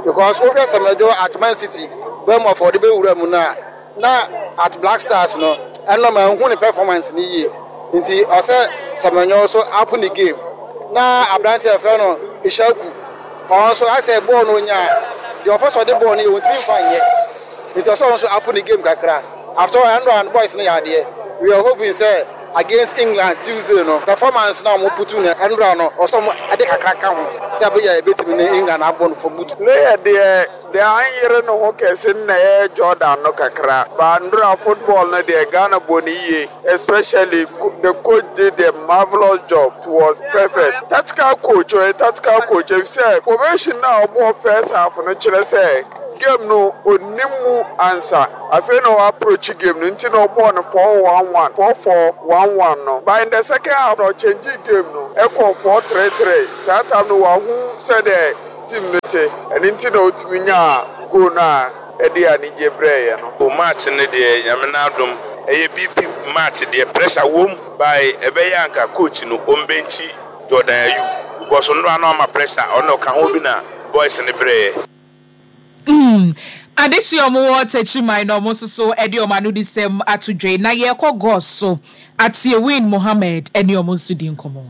because wohwɛ Semenyo at Man City, Bournemouth a ɔde bɛwura mu no a, na at Black Stars no, ɛno manhu ne performance no yie. Nti ɔsɛ Semenyo nso up ne game. Na aberanteɛ a yɛfrɛ no Ishaku, ɔno nso asɛ bɔɔl no ɔnya a, deɛ ɔpɛ sɛ ɔde bɔɔl no yɛ ɔntumi mfa nyɛ. Nti ɔsɛ ɔno nso up ne game kakra. After all, ɛno a boys no yɛ adeɛ. We are hoping sɛ against England Tuesday no, performance no a wɔn putu no ɛnora no, ɔsɛ wɔn de kakra ka ho sɛ ɛbɛyɛ a yɛbɛtumi ne England abɔ no for good. Player deɛ deɛ anyere ne ho kɛse no na ɛyɛ Jordan no kakra but ndora football no deɛ Ghana bɔ no yie especially the coach did a marvelous job it was perfect tactical coach ɔyɛ tactical coach efisɛ formation no a ɔbɔɔ first half no kyerɛ sɛ. Game no ɔnnim mu ansa. Afei na ɔ approach game no nti na ɔbɔɔ no 4-1-1, 4-4-1-1 no. But in the second half no ɔchangee game no kɔɔ 4-3-3. Saa time no wahu sɛdeɛ team no te, ɛno nti na ɔtumi nyaa goal no a ɛde anigye brɛɛ yɛn no. O match no deɛ Nyame n'adom ɛyɛ BP match deɛ pressure wom by ɛbɛyɛ a nka coach no ɔmbenkyi Jordan Ayew because nnora no ama pressure ɔno ɔka ho bi na boys no brɛɛ. Mm adehye a wɔwɔ Techiman na wɔn nso so de wɔn anodisɛm ato dwa yi. Na yɛrekɔ Gos so, Atiewin Mohammed ne wɔn nso di nkɔmmɔ.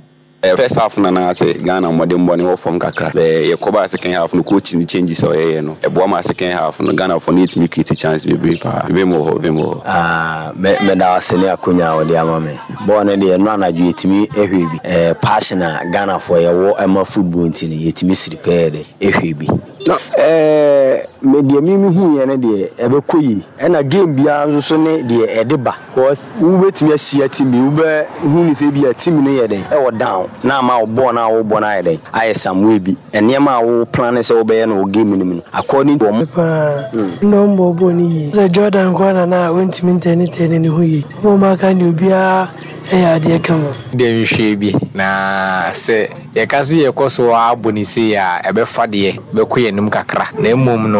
First half no na asɛ Ghana mmɔdenbɔ no wɔ fam kakra but yɛkɔ baa second half no coach no changes a ɔyɛeɛ no ɛboa maa second half no Ghanafoɔ no yɛtumi create chance bebree paa. Vim wɔ hɔ, vim wɔ hɔ. Ah, me meda wo ase ne akonya a wode ama me. Bɔɔl no deɛ ɛno anadwo yɛtumi hwɛ bi. Eh, passion a Ghanafoɔ yɛwɔ ma football nti no yɛtumi siri pɛɛ dɛ hwɛ bi. Na eh, me deɛ me mehuiɛ no deɛ ɛbɛkɔ yie. Ɛna game biara nso so ne deɛ ɛde ba. Cause wobɛtumi ahyia team bi, wobɛhu no sɛ ebia team no yɛ dɛn, ɛwɔ down na ama wo bɔɔl no a wobɔ no ayɛ dɛn, ayɛ some way bi. Nneɛma a wo plane sɛ wobɛyɛ no wɔ game no mu no, according to wɔn. Paa, nna ɔmmbɔ bɔɔl no yie. Sɛ Jordan nkoaa na na ɔnntumi ntɛɛnetɛɛne ne ho yie. Wɔn a wɔaka no deɛ obiara yɛ adeɛ kama. Deɛ mehwɛɛ bi, na sɛ yɛka sɛ yɛkɔ so ara bɔ no sei a, ɛbɛfa deɛ bɛkɔ yɛn anim kakra. Na mmom no,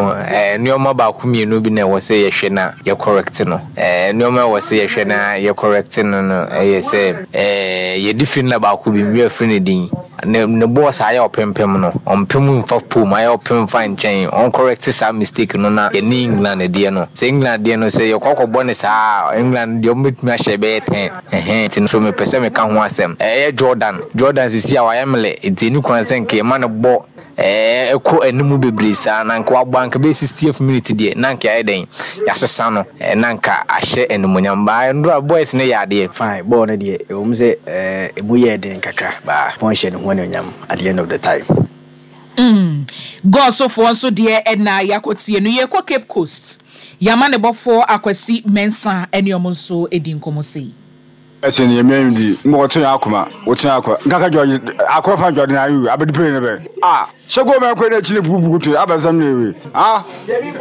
nneɛma baako mmienu bi na ɛwɔ sɛ yɛhwɛ na yɛ correct no. Nneɛma a ɛwɔ sɛ yɛhwɛ na yɛ correct no no yɛ sɛ, yɛde firi nna baako bi, me werɛ afiri ne din, ne ne bɔɔs a ayɛ ɔpempem no, ɔmpem mfa pole mu, ayɛ ɔpem fa nkyɛn, ɔn correct saa mistake no na yɛne England deɛ no, sɛ England deɛ no sɛ yɛkɔ akɔbɔ no saa a, England deɛ wɔbɛtumi ahyɛ bɛyɛ ten, ɛhɛn, nti no so mepɛ sɛ meka ho asɛm. Ɛyɛ Jordan, Jordan sisi a wayɛ mlɛ, nti ɛni kwan sɛ nka yɛma no bɔ Ɛɛ ɛkɔ anim bebree saa na anka wabɔ anka bɛyɛ 60th minute deɛ na anka yɛayɛ dɛn yɛasesa no na anka ahyɛ animuonyam baa nnora boys no yɛ adeɛ. Fine, bɔɔl no deɛ ɛwom sɛ ɛmu yɛɛ den kakra but Pon hyɛ ne ho anuonyam at the end of the time. Mm Gɔɔsofoɔ nso deɛ na yɛakɔtie no. Yɛrekɔ Cape Coast. Yɛn amanebɔfoɔ Akwasi Mensah ne wɔn nso di nkɔmmɔ sei. Ɛsɛ ni ɛmɛ ndi mbɔ ɔtwe akoma ɔtwe akɔ nkaka jɔ akɔ fa jɔ na ayu abɛdi pere ne bɛ a sɛ go mɛ kɔ ne kyini bubu kutu abɛsɛm ne ewe a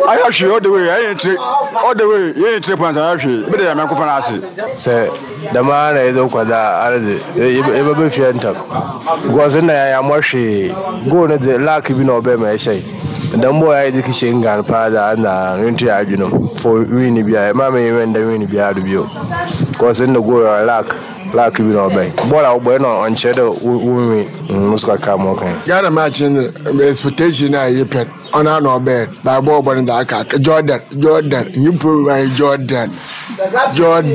ayɛ hwee ɔde wei ɛyɛ tire ɔde wei yɛ tire pɔn ayɛ hwee ebi de yɛ mɛ kɔ fana ase. Sɛ dɛm ara na yɛdze kɔ dze a, ara dze yɛbɛba fie ntsɛm because nna yɛammɔ hwee. Goal no dze luck bi na ɔbae ma yɛhyɛe. Dɛm bɔɔl yi a yɛdze kɛhyɛ England paa dze a nna nnto hɛn adwen mu for win biara. Mma me win dɛ win biara do bio because nna goal no luck luck bi na ɔbae. Bɔɔl a wɔbɔe no ɔnnkyerɛ dɛ wo win. Mo so kakra ma ɔka. Ghana match no dze expectation a yɛpɛ no ɔno ara na ɔbɛyɛ no but bɔɔl bɔ no dze aka aka Jordan Jordan nyimpa owura nye Jordan Jordan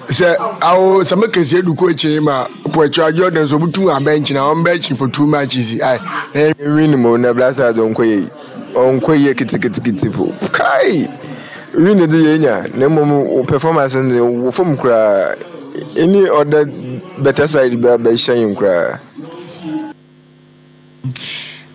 sɛ awo sɛ meka sɛ edu kɔ ekyir ma pɔkyɛ Jordan so obotum abɛnkye na ɔmbɛnkye for two matches ae na yɛn Win mmom na Black Stars ɔnkɔ yie ɔnkɔ yie kitikitiki po kai win dze yɛnya na mmom wo performance no dze wɔ fam koraa any other better side bi abɛhyɛ yɛn koraa.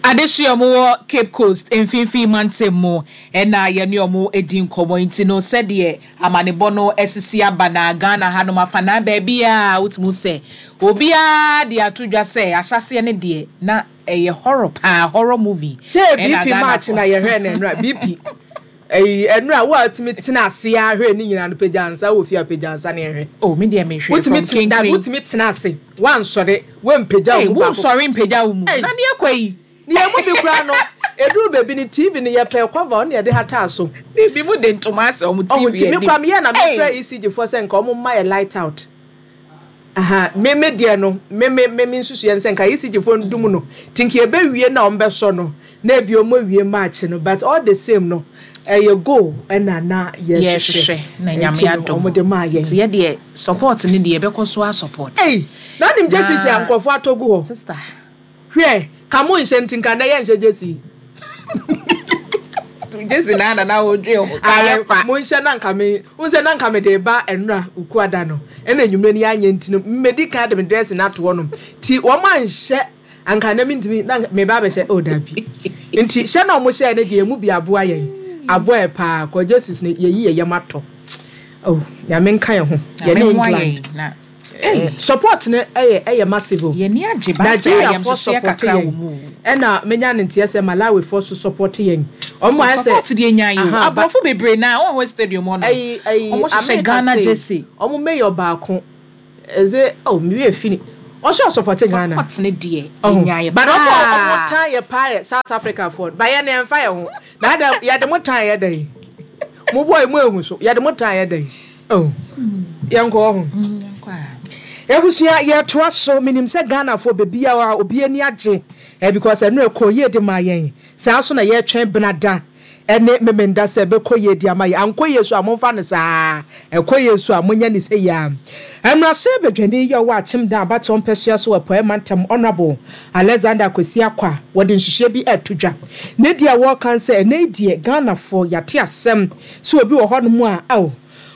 Adehye a wɔwɔ Cape Coast mfinfii mantam mu na yɛne wɔn di nkɔmmɔ yi nti no sɛdeɛ amanebɔ no asisi aba na Ghana hanom afanaa baabiara wotumi hu sɛ obiara de ato dwa sɛ ahyɛaseɛ no deɛ na ɛyɛ horror paa, horror movie Sɛ ɛna BP match Ghanafoɔ na yɛhwɛɛ no ɛnora BP Ɛyi ɛnora wo a wotumi tena ase ara hwɛ ne nyinaa no pagya nsa wɔ fie a pagya nsa na yɛnhwɛ. Oh me deɛ mehwɛ Wotumi from tena dabi kenkren. wotumi tena ase wansɔre wampagya wo Ei mu baako. wonsɔre mpagya wo mu Ei na neɛ kɔ yi. Ne yɛn mu bi koraa no ɛduru baabi no TV no yɛpɛɛ cover ɔno na yɛde hataa so. Ebi mo de ntoma asɛ wɔn Ɔho TV nti me anim. koraa meyɛɛ na mefrɛ Ei. ECG foɔ sɛ nka wɔn mma yɛ light out. Aha me me deɛ no me me me me nsusuiɛ ne sɛ nka ECG foɔ ndum no nti nka yɛbɛwie na wɔn bɛsɔ no na ebi wɔn awie match no but all the same no ɛyɛ goal ɛna na yɛhwehwɛ Yɛhwehwɛ na Nyame nti no adom wɔn de maa yɛn. nti yɛ deɛ support no deɛ yɛbɛkɔ so a support Ei na wonim jerseys a na nkurɔfoɔ atɔ gu hɔ sister. Hwɛ ka mo nhyɛ nti nka nnɛ yɛnhyɛ jersey. Jersey na na na wodwen ho ka yɛ kwa. Monhyɛ na nka me wohu sɛ na nka mede reba nnora Wukuada no ɛna anwummerɛ no yɛanyɛ nti no medi kan de me dressing no ato hɔnom nti wɔn anhyɛ anka nnɛ mentumi na nka meba abɛhyɛ oh dabi nti hyɛ na wɔn hyɛɛ no deɛ emu bi aboa yɛn aboa yɛ paa kɔ jerseys no yɛyi yɛ yam atɔ oh Nyame nka yɛn ho Nyame yɛne mmoa England yɛn na Ei. Support no yɛ ɛyɛ massive o. Yɛn ani agye ba sɛ Nigeria foɔ ayamhyehyeɛ support kakra yɛn wɔ mu o. ɛna menya ne nteɛ sɛ Malawi foɔ so support yɛn. Ɔmo ayɛ sɛ. Support deɛ nyaa yi o. Aha, but. Aborɔfo bebree naa wɔn wɔ stadium hɔ no. Ɛyi ɛyi Ɔmo hyehyɛ America Ghana sei jersey. ɔmo mayor baako ɛdze oh me werɛ fi ne ɔso ɔsupporte Ghana. Support ne deɛ Ɔho nyaa yɛ but ɔmo a ɔmo paa. tan yɛ paa yɛ South Africa foɔ no but yɛn no yɛnfa yɛn ho na adɛn yɛde mo tan yɛ dɛn mo boy mo ehu so yɛde mo tan yɛ dɛn oh yɛnkɔ ɔho. Abusua yɛtoa so menim sɛ Ghana foɔ bebia obi ani agye eh because ɛno ɛkɔɔ yie de maa yɛn. Saa nso na yɛretwɛn Benada ne Memenda sɛ ɛbɛkɔ yie de ama yɛn. Ankɔ yie nso a, momfa no saa ara. Ɛkɔ yie nso a, monyɛ no sɛ yei ara. Mmarahyɛbadwani yi a ɔwɔ Akyem Dan abatoɔ mpɛsoa so wɔ Apueɛ Mantam, Honourable Alexander Kwesi Akwa, wɔde nhyehyɛeɛ bi reto dwa. Ne deɛ wɔreka ne sɛ, ɛnnɛ yi deɛ Ghanafoɔ yɛate asɛm sɛ obi wɔ hɔnom a, ao,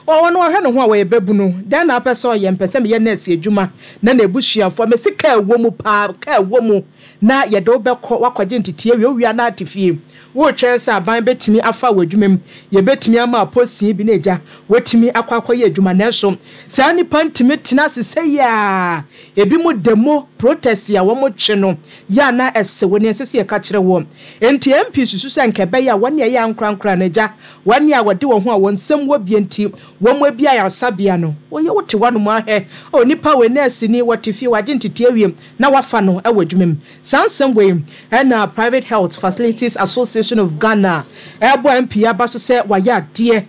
ɔno ɔhwɛ ne ho a ɔyɛ babunu, dɛn na wopɛ sɛ ɔyɛ? Mepɛ sɛ meyɛ nɛɛse adwuma na n'abusuafoɔ, mese kaa wɔ mu paa, kaa wɔ mu. Na yɛde wo bɛkɔ, woakɔgye ntetee awie, wowie a na ate fie. Woretwɛn sɛ aban bɛtumi afa wo adwuma mu, yɛbɛtumi ama wo posting bi na agya, woatumi akɔ akɔyɛ adwuma. Nanso saa nnipa ntumi tena ase sɛi a, ebinom demo, protest a wɔtwe no, yɛ a na ɛse wo nea ɛsɛ sɛ yɛka kyerɛ woɔ. Enti MP susu sɛ anka ɛbɛyɛ a wɔne ɛyɛ ankorankoro no agya, wɔne a wɔde wɔn ho a wɔn nsam wɔ bie nti wɔabue ayaresabea no, woyɛ wote hɔnom ara hwɛ, oh, nipa wei nɛɛseni, wɔte fie, wagye ntetee awie, na wafa no wɔ adwuma mu. Saa nsɛm wei na Private Health Facilities Association of Ghana rebɔ MP aba so sɛ wayɛ adeɛ.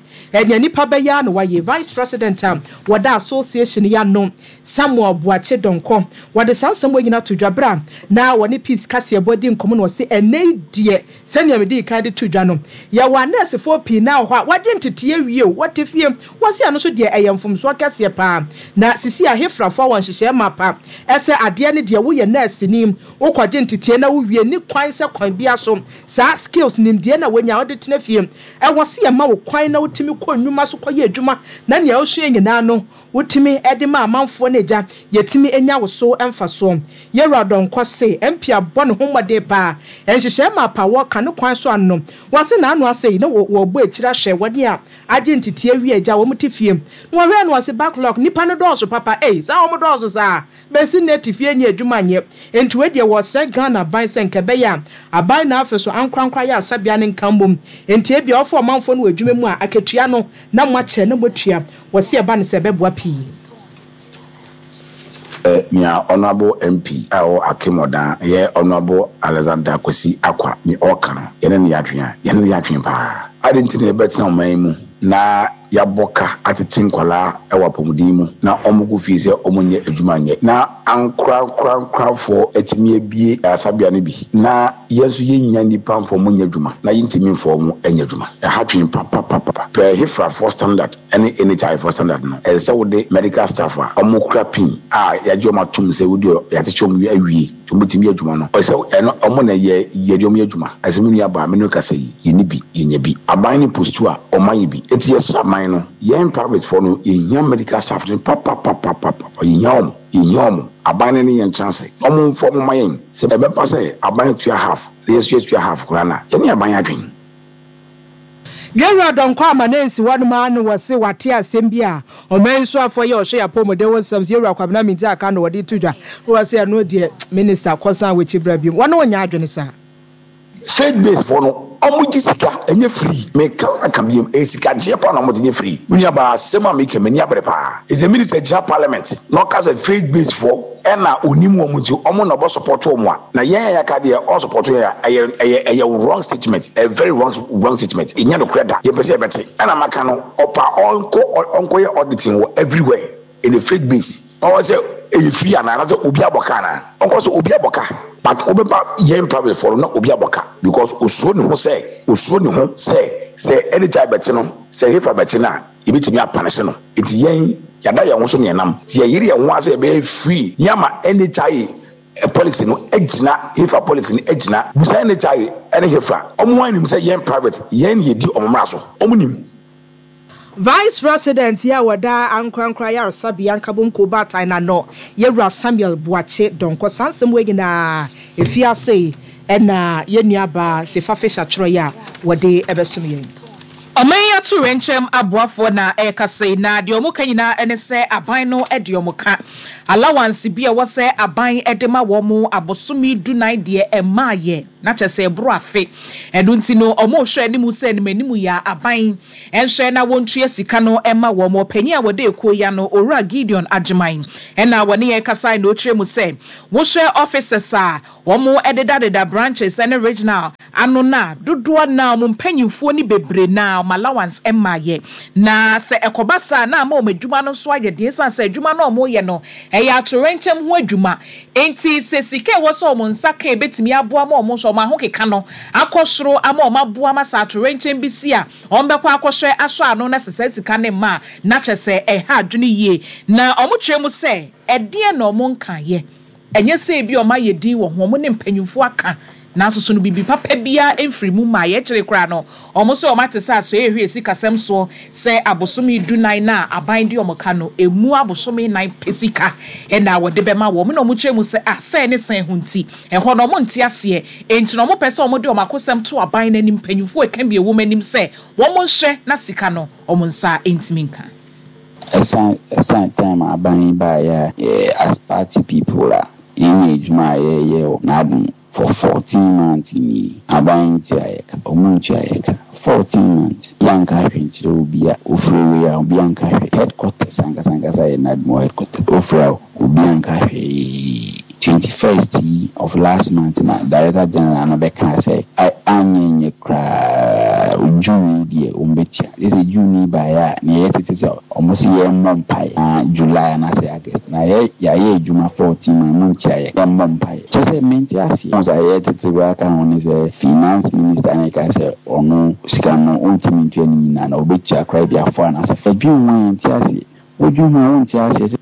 Nea nipa bɛyɛ ara na wayɛ. Vice President a wɔda association yi ano, Samuel Boakye Donkor, wɔde saa nsɛm wei nyinaa too dwa berɛ a na wɔne Peace Kaseɛbɔ redi nkɔmmɔ na ɔse ɛnnɛ yi deɛ Sɛnea midii kan de too dwa no, yɛwɔ anɛɛsefoɔ pii no ara wɔ hɔ a wɔagye ntetee awie o, wɔte fie. Wɔse ɛno nso deɛ ɛyɛ mfomsoɔ kɛseɛ pa ara. Na sisi a Hefrafoɔ wɔ nhyehyɛɛ mapa sɛ adeɛ no deɛ woyɛ nɛɛseni, wokɔgye ntetee na wowie, nni kwan sɛ kwan biara so saa skills, nimdeɛ no a woanya wode tena fie. Ɛwɔ se yɛma wo kwan na wotumi kɔ nnwuma so kɔyɛ adwuma na nea wosua nyinaa no Wotumi de ma amanfoɔ no agya yɛtumi nya wo so mfasoɔ. Yɛwura Donkor se MP abɔ ne ho mmɔden paa. Nhyehyɛɛ mapa a wɔka no kwan so ano no, wɔse n'ano ase yi na wɔbɔ akyire ahwɛ wɔn a agye nteteɛ awie agya wɔn te fie. Na wɔhwɛɛ no wɔse backlog nnipa no dɔɔso papa ei saa wɔn dɔɔso saa bɛsi nnɛ te fie nyɛ adwuma nyɛ. Enti wei deɛ wɔsrɛ Ghana aban sɛ nka ɛbɛyɛ a aban na afe so ankorankoro ayaresabea no nka mmom. Enti ebia wɔfa ɔmanfoɔ no wɔ adwuma mu a akatua no na moakyɛ na moatua. Wɔse ɛba no sɛ ɛbɛboa pii. Nea Honourable MP a ɔwɔ Akim Odan yɛ Honourable Alexander Kwesi Akwa ne ɔɔka no, yɛne no yɛ adwene a, yɛne no yɛ adwene paa. Adɛn nti na yɛbɛtena ɔman yi mu na yɛabɔ ka atete nkwadaa wɔ apɔmuden mu na wɔkɔ fie sɛ wɔnyɛ adwuma nyɛ na ankorankorankorafoɔ atumi abue ayaresabea no bi na yɛn nso yɛnnya nnipa mfa wɔn nyɛ adwuma na yɛntumi mfa wɔn nyɛ adwuma? Ɛha dwen papapapa. Pɛ Hefrafoɔ standard ne NHI foɔ standard no, ɛsɛ sɛ wode medical staff a wɔkura pin a yɛagye wɔn atom sɛ wode yɛakyekyɛ wɔn awie nti wɔbɛtumi yɛ adwuma no, ɛsɛ sɛ ɛno wɔn na yɛ yɛde wɔn yɛ adwuma. Ɛsɛ sɛ me nua baa me ne wo kasa yi, yɛnni bi, yɛnya bi. Aban no postu a, wɔma yɛ bi. Nti yɛsrɛ aban no, yɛn private foɔ no yɛhia medical staff no papapapapapa, yɛhia wɔn, yɛhia wɔn. Aban no ne yɛn ntena ase na wɔmfa wɔn mma yɛn. Sɛ ɛbɛba sɛ aban tua half na yɛn nso yɛtua half koraa no a, yɛne aban adwene. Yɛwura Donkor ama no ansi hɔnom ara na wɔse wate asɛm bi a ɔman yi soafoɔ yi a ɔhwɛ yɛn apɔmuden ho nsɛm so, Yɛwura Kwabena Mintah Akandoh na wɔde reto dwa. Na wɔse ɛno deɛ Minister kɔsan w'akyi bra biom. Wɔne wo nyɛ adwene saa. Faith base foɔ no ɔmo gye sika ɛnyɛ free meka aka biom ɛyɛ sika gyeɛ paa na ɔmo gye nyɛ free me nua baa asɛm a meka yi m'ani abere paa ɛsɛ minister gyina parliament na ɔka sɛ faith base foɔ ɛna onim wɔn nti ɔmo na ɔbɛ support wɔn a na yɛn a yɛaka deɛ ɔn support yɛn a ɛyɛ ɛyɛ ɛyɛ wrong statement ɛyɛ very wrong wrong statement ɛnyɛ nokorɛ da yɛpɛ sɛ yɛbɛte ɛna maka no ɔpa ɔnkɔ ɔnkɔyɛ auditing wɔ everywhere in the faith base ɔwɔ sɛ ɛyɛ free anaa anasɛ obi abɔ ka anaa ɔnkɔ sɛ obi abɔ ka but wobɛba yɛn private foɔ no na obi abɔ ka because osuro ne ho sɛ osuro ne ho sɛ sɛ NHI bɛkye no sɛ hefa bɛkye no a Yɛbɛtumi apanehye no. Nti yɛn, yɛada yɛn ho so ne yɛnam. Nti yɛyere yɛn ho ara sɛ yɛbɛyɛ free ne ama NHIA policy no agyina, HEFRA policy no agyina. Bisa NHIA ne HEFRA, wɔn ara nim sɛ yɛn private, yɛn na yɛdi wɔn mmara so. Wɔn nim. Vice President yi a ɔda Ankorankoro Ayaresabea Nkabom Kuo Baatan no ano, Yɛwura Samuel Boakye Donkor. Saa nsɛm wei nyinaa, ɛfii ase na yɛn nuabaa Sefa Fisher twerɛeɛ a wɔde bɛsom yɛn. Ɔman yi atoyerɛnkyɛm aboafoɔ na ɛrekasa yi, na deɛ wɔka nyinaa ne sɛ aban no de wɔn ka. Allowance bi a ɛwɔ sɛ aban de ma wɔn abosome dunan deɛ ɛmmaeɛ, na kyerɛ sɛ ɛboro afe. Ɛno nti no wɔrehwɛ anim sɛ animanimu yi ara aban nhwɛ na wɔntua sika no mma wɔn. Ɔpanyin a wɔda ekuo yi ano, Owura Gideon Agyeman na wɔne yɛn kasae na ɔkyerɛ mu sɛ, wohwɛ officers a wɔdedadeda branches ne regional ano no a, dodoɔ no ara wɔn mpanimfoɔ no bebree no ara wɔn allowance mmaeɛ. Na sɛ ɛkɔba saa a, na ama wɔn adwuma no nso ayɛ den ɛsiane sɛ adwuma no a wɔreyɛ no, ɛyɛ atoyerɛnkyɛm ho adwuma. Enti sɛ sika a ɛwɔ sɛ wɔn nsa ka a ɛbɛtumi aboa ma wɔn nso wɔn ahokeka no akɔ soro ama wɔn aboa ma sɛ atoyerɛnkyɛm bi si a, wɔbɛkɔ akɔhwɛ asɔ ano na sɛ saa sika no mma a, na kyerɛ sɛ ɛha adwene yie. Na wɔkyerɛ mu sɛ, ɛdeɛn na wɔnkaeɛ? Ɛnyɛ sɛ ebia wɔayɛ din wɔ ho, wɔne mpanyimfo aka, nanso so no biribi papa biara mfiri mu mmaeɛ. Akyire koraa no, wɔn nso wɔate sɛ asoɛeɛ hwɛ sikasɛm soɔ sɛ abosome dunan no a aban de wɔn ka no, ɛmu abosome nnan pɛ sika na wɔde bɛma wɔn. Na wɔkyerɛ mu sɛ, ah, sɛn ne sɛn ho nti, ɛhɔ no wɔnte aseɛ. Enti na wɔpɛ sɛ wɔde wɔn akosɛm to aban no anim, mpanyimfoɔ a ɛka bi a ɛwom anim sɛ wɔnhwɛ na sika no wɔn nsa ntumi nka. Ɛsan ɛsan time a aban yi baeɛ a yɛ as party people a yɛnyɛ adwuma a yɛyɛ wɔ n'adom for 14 months nie aban ntua yɛ ka ɔmo ntua yɛ ka 14 months yɛanka hwee nkyerɛ obi a ofrɛ wei a obi anka hwee headquarters ankasa ankasa yɛ NADMO headquarters ofrɛ a obi anka hwee 21st yi of last month na director general no bɛkaa sɛ anyɛ nyɛ koraa June yi deɛ wɔn bɛtua. Gye sɛ June yi baeɛ a na yɛyɛ tete sɛ wɔn se yɛmmɔ mpaeɛ na July anaasɛ August na yɛ yɛayɛ adwuma 14 months montua yɛ yɛmmɔ mpaeɛ. Kyerɛ sɛ mente aseɛ. Wohu sɛ yɛyɛ tete koraa ka ho ne sɛ finance minister no reka sɛ ɔno sika no ɔntumi ntua ne nyinaa na ɔbɛtua koraa ebia four anaasɛ five. Dwen ho a yɛnte aseɛ. Wodwen ho a wonte aseɛ.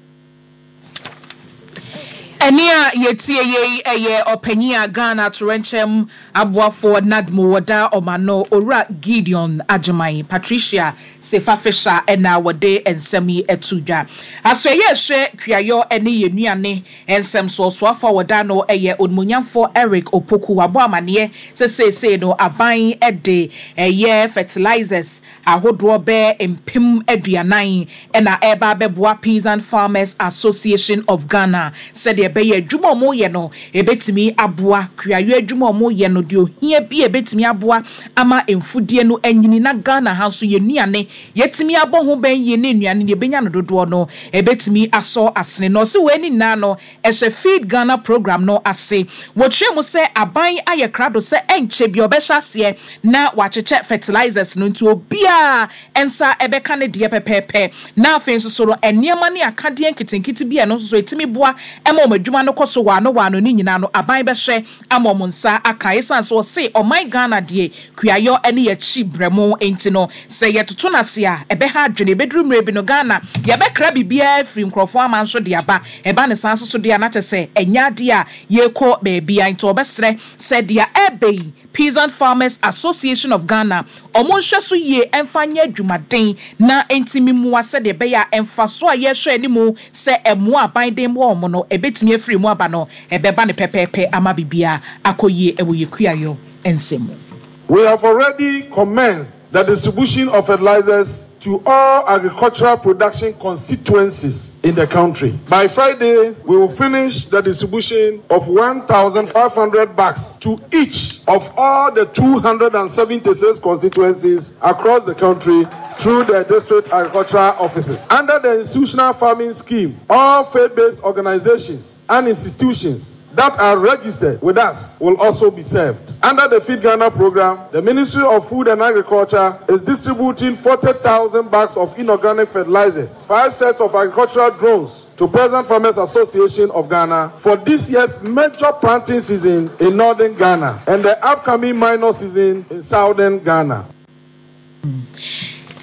Ɛnne a yɛtie yei yɛ ɔpanyin a Ghana atoyerɛnkyɛm aboafoɔ NADMO wɔ daa wɔn ano, Owura Gideon Agyeman. Patricia Sefa Fisher na wɔde nsɛm yi too dwa. Asoɛeɛ a ɛhwɛ kuayɔ ne yɛn nnuane nsɛm so ɔsoafoɔ a wɔda ano yɛ Onimuonyamfoɔ Eric Opoku. Wabɔ amaneɛ sɛ seesei no aban de ɛyɛ fertilizers ahodoɔ bɛyɛ 40,000 na ɛreba abɛboa Peasant Farmers Association of Ghana sɛdeɛ ɛbɛyɛ adwuma a wɔreyɛ no ɛbɛtumi aboa kuayɔ adwuma a wɔreyɛ no deɛ ohia bi a ɛbɛtumi aboa ama mfudeɛ no anyini na Ghana ha nso yɛn nnuane yɛatumi abɔ ho bɛn yie ne nnuane no yɛbɛnya no dodoɔ no ɛbɛtumi asɔ asene na ɔse wei ne nyinaa no Ɛhyɛ Feed Ghana Programme no ase. Wɔkyerɛɛ mu sɛ aban ayɛ krado sɛ ɛnkyɛ biara ɔbɛhyɛ aseɛ na wakyekyɛ fertilizers no nti obiara nsa bɛka ne deɛ pɛpɛɛpɛ. Na afei nso so no nneɛma ne akadeɛ nketenkete bi a ɛno nso so ɛtumi boa ma wɔn adwuma no kɔ so waano waano ne nyinaa no aban bɛhwɛ ama wɔn nsa aka. Esiane sɛ wɔse ɔman Ghana deɛ kuayɔ ne yɛakyi brɛmo nti no, sɛ yɛtoto no ase a, ɛbɛha adwene. Ɛbɛduru mmerɛ bi no, Ghana, yɛbɛkra biribiara afiri nkurɔfoɔ aman so de aba. Ɛba no saa nso so deɛ a, na kyerɛ sɛ ɛnyɛ adeɛ a yɛrekɔ baabiara. Nti wɔbɛsrɛ sɛ deɛ ɛreba yi, Peasant Farmers Association of Ghana, wɔnhwɛ so yie mfa nyɛ adwumaden na ɛntumi mmoa sɛdeɛ ɛbɛyɛ a mfasoɔ a yɛrehwɛ anim sɛ mmoa a aban de mmoa wɔn no, ɛbɛtumi afiri mu aba no, ɛbɛba no pɛpɛɛpɛ ama biribiara akɔ yie wɔ yɛn kuayɔ nsɛm mu. We have already commenced the distribution of fertilizers to all agricultural production constituencies in the country. By Friday, we will finish the distribution of 1,500 bags to each of all the 276 constituencies across the country through the district agricultural offices. Under the institutional farming scheme, all faith-based organizations and institutions that are registered with us will also be served. Under the Feed Ghana program, the Ministry of Food and Agriculture is distributing 40,000 bags of inorganic fertilizers, five sets of agricultural drones to Peasant Farmers Association of Ghana for this year's major planting season in northern Ghana and the upcoming minor season in southern Ghana.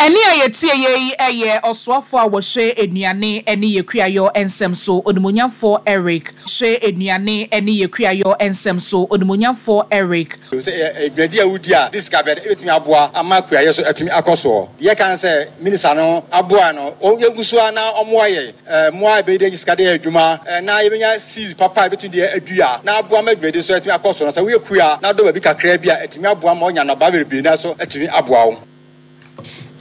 Ɛnne a yɛtieeɛ yi yɛ ɔsoafoɔ a wɔhwɛ nnuane ne yɛ kuayɔ nsɛm so, Onimuonyamfoɔ Eric. Hwɛ nnuane ne yɛ kuayɔ nsɛm so, Onimuonyamfoɔ Eric. Sɛ ɛyɛ dwumadi a wodi a, de sika bɛn ebetumi aboa ama kuayɛ so atumi akɔ soɔ? Deɛ yɛka ne sɛ minista no aboa no, yɛngu so ara na ɔmmoa yɛn. Mmoa a yɛbɛyɛ de anya sika de ayɛ adwuma na yɛbɛnya seeds papa a yɛbɛtumi de adua na aboa ma dwumadi nso atumi akɔ so no. Sɛ woyɛ kua na wodɔ baabi kakraa bi a, atumi aboa ma woanya nnɔbae bebree na nso atumi aboa wo.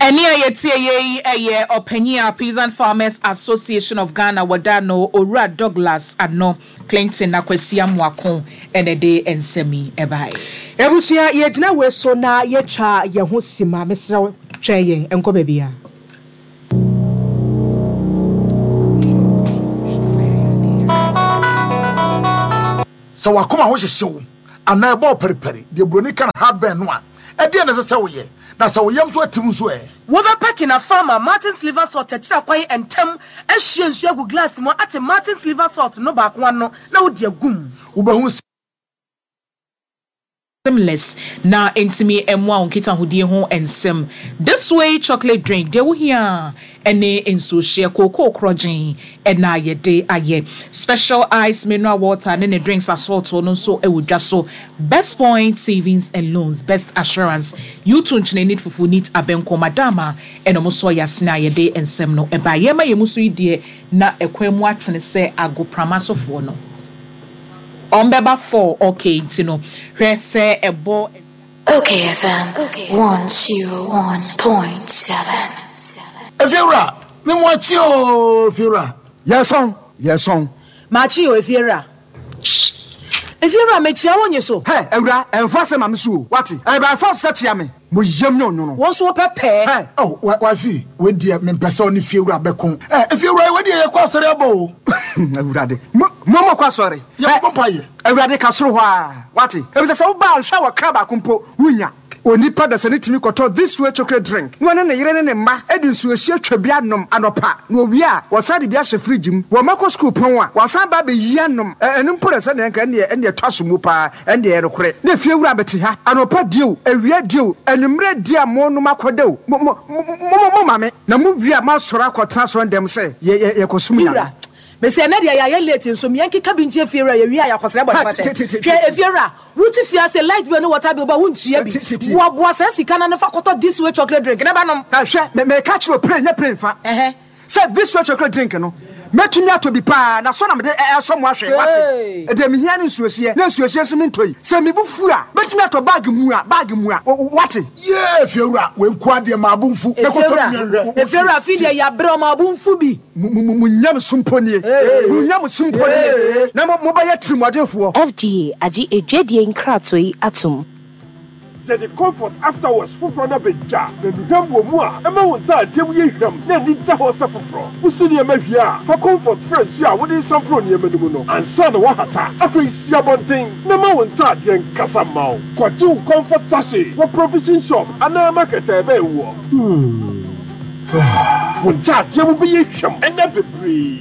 Ɛnne a yɛtie yɛ yi yɛ ɔpanyin a Peasant Farmers Association of Ghana wɔda no Owura Douglas Ano Clinton Akwasi Amoako na ɛde nsɛm yi baeɛ. Abusua yɛgyina wei so na yɛtwa yɛn ho sima mesrɛ wo twɛn yɛn nkɔ baabiara. Sɛ w'akoma ho hyehye wo anaa ɛbɔ wo paripari, deɛ buroni ka no heartburn no a, ɛdeɛn na ɛsɛ sɛ woyɛ? Na sɛ wo yam nso atim nso ɛ? Wobɛpɛ Kinafar ma Martin's Liver Salt akyiri akwan ntɛm ahwie nsuo agu glass mu ate Martin's Liver Salt no baako ano na wode agu mu. Wobɛhu sɛ. Seamless na ɛntumi mmoa wo nkitahodie ho nsɛm. This way chocolate drink, deɛ wohia ara ne nsuohyeɛ, kookoo korɔgyen na yɛde ayɛ. Special ice mineral water ne ne drinks asɔɔtoo no nso wɔ dwa so. Best Point Savings and Loans, Best Assurance, U2 nkyene neat fufu neat abɛnkɔ, Madama ɛna wɔn nso yɛ asene a yɛde nsɛm no baeɛ. Yɛma yɛn mu so yi deɛ na ɛkwan mu atene sɛ agoprama sofoɔ no. Ɔmbɛba fall ok nti no hwɛ sɛ ɛbɔ. Ok FM 101.7. Efiewura, me mo akye oo Efiewura. Yɛsɔn, yɛsɔn. Makye o Efiewura. Efiewura mekyia wo nye so. Hɛ, awura, ɛnfa asɛm ma me so o, wate? Ɛyɛ by force sɛ kyia me. Mo yam nyɛ onwono. Wo nso wopɛ pɛɛ. Hɛ, oh, wa, wifey, wei deɛ mempɛ sɛ ɔne fiewura bɛko. Ɛ, efiewura, wei deɛ yɛkɔ asɔre aba o. Awurade, mo, mo mokɔ asɔre. Yɛkɔbɔ mpaeɛ. Awurade, ka soro hɔ ara, wate? Efisɛ sɛ woba a, nhwɛ a wɔkra baako mpo, wunnya. Onipa dasani tumi kɔtɔ This Way chocolate drink na ɔne ne yere ne ne mma de nsuohyeɛ twa bi anom anɔpa, na wɔwie a, wɔsan de bi ahyɛ fridge mu. Wɔn mma kɔ sukuu pɔn a, wɔasan aba abɛyi anom. Ɛ, ɛno mpo na sɛdeɛ anka ɛnneɛ, ɛnneɛ ɛtɔ asom mu paa. Ɛndeɛ ɛyɛ nokorɛ, na efiewura bɛte ha, anɔpa die o, awia die o, anwummerɛ die a monom akɔda o, mo, mo, mo, mo, moma me, na mowie a moasɔre akɔtena asɔrendɛm sɛ yɛ, yɛ, yɛkɔsom Me Nyame. wura, mese ɛnɛ deɛ yɛayɛ late nso me yɛnkeka bi nkyerɛ fiewura, yɛwie a yɛakɔsrɛ Ha, bɔne te, fakyɛ. te, te, Hwɛ, te, efiewura, wote fie ha sɛ light bill ne water bill ba wontua bi, te, te, te. boaboa saa sika no ano fa kɔtɔ this way chocolate drink na bɛnom. Ha, hwɛ, me, meka kyerɛ wo, pray nyɛ pray mfa. Ɛhɛ. Sɛ this way chocolate drink no, mɛtumi atɔ bi paa, na sɔ na mede ɛsɔ mo ahwɛ, wate? Deɛ mehia ne nsuohyeɛ, na nsuohyeɛ nso mentɔ yi. Sɛ me bo fu a, mɛtumi atɔ bag mua, bag mua, wate? Yee, Efiewura, wei nkoa deɛ maa bo mfu. Mɛkɔtɔ bi nhwɛ. Efiewura, afei deɛ yɛabrɛ o, maa bo mfu bi. Mo, mo, mo nyamesom mpo nie, mo nyamesom mpo nie, na mo, mobɛyɛ tirimuɔdenfoɔ. FDA agye adwadie nkratoɔ yi atom. Yɛde Comfort After Wash foforɔ no aba dwa, na nnuhwam wɔ mu a ɛma wo ntaadeɛ mu yɛ hwam na ani da hɔ sɛ foforɔ. Wosi nneɛma wie a, fa Comfort fra nsuo a wode resan foro nneɛma no mu no ansa na woahata. Afei si abɔnten na ma wo ntaadeɛ nkasa mma wo. Kɔgye wo Comfort sachet wɔ provision shop anaa market a ɛbɛn woɔ. Wo ntaadeɛ mu bɛyɛ hwam nna bebree.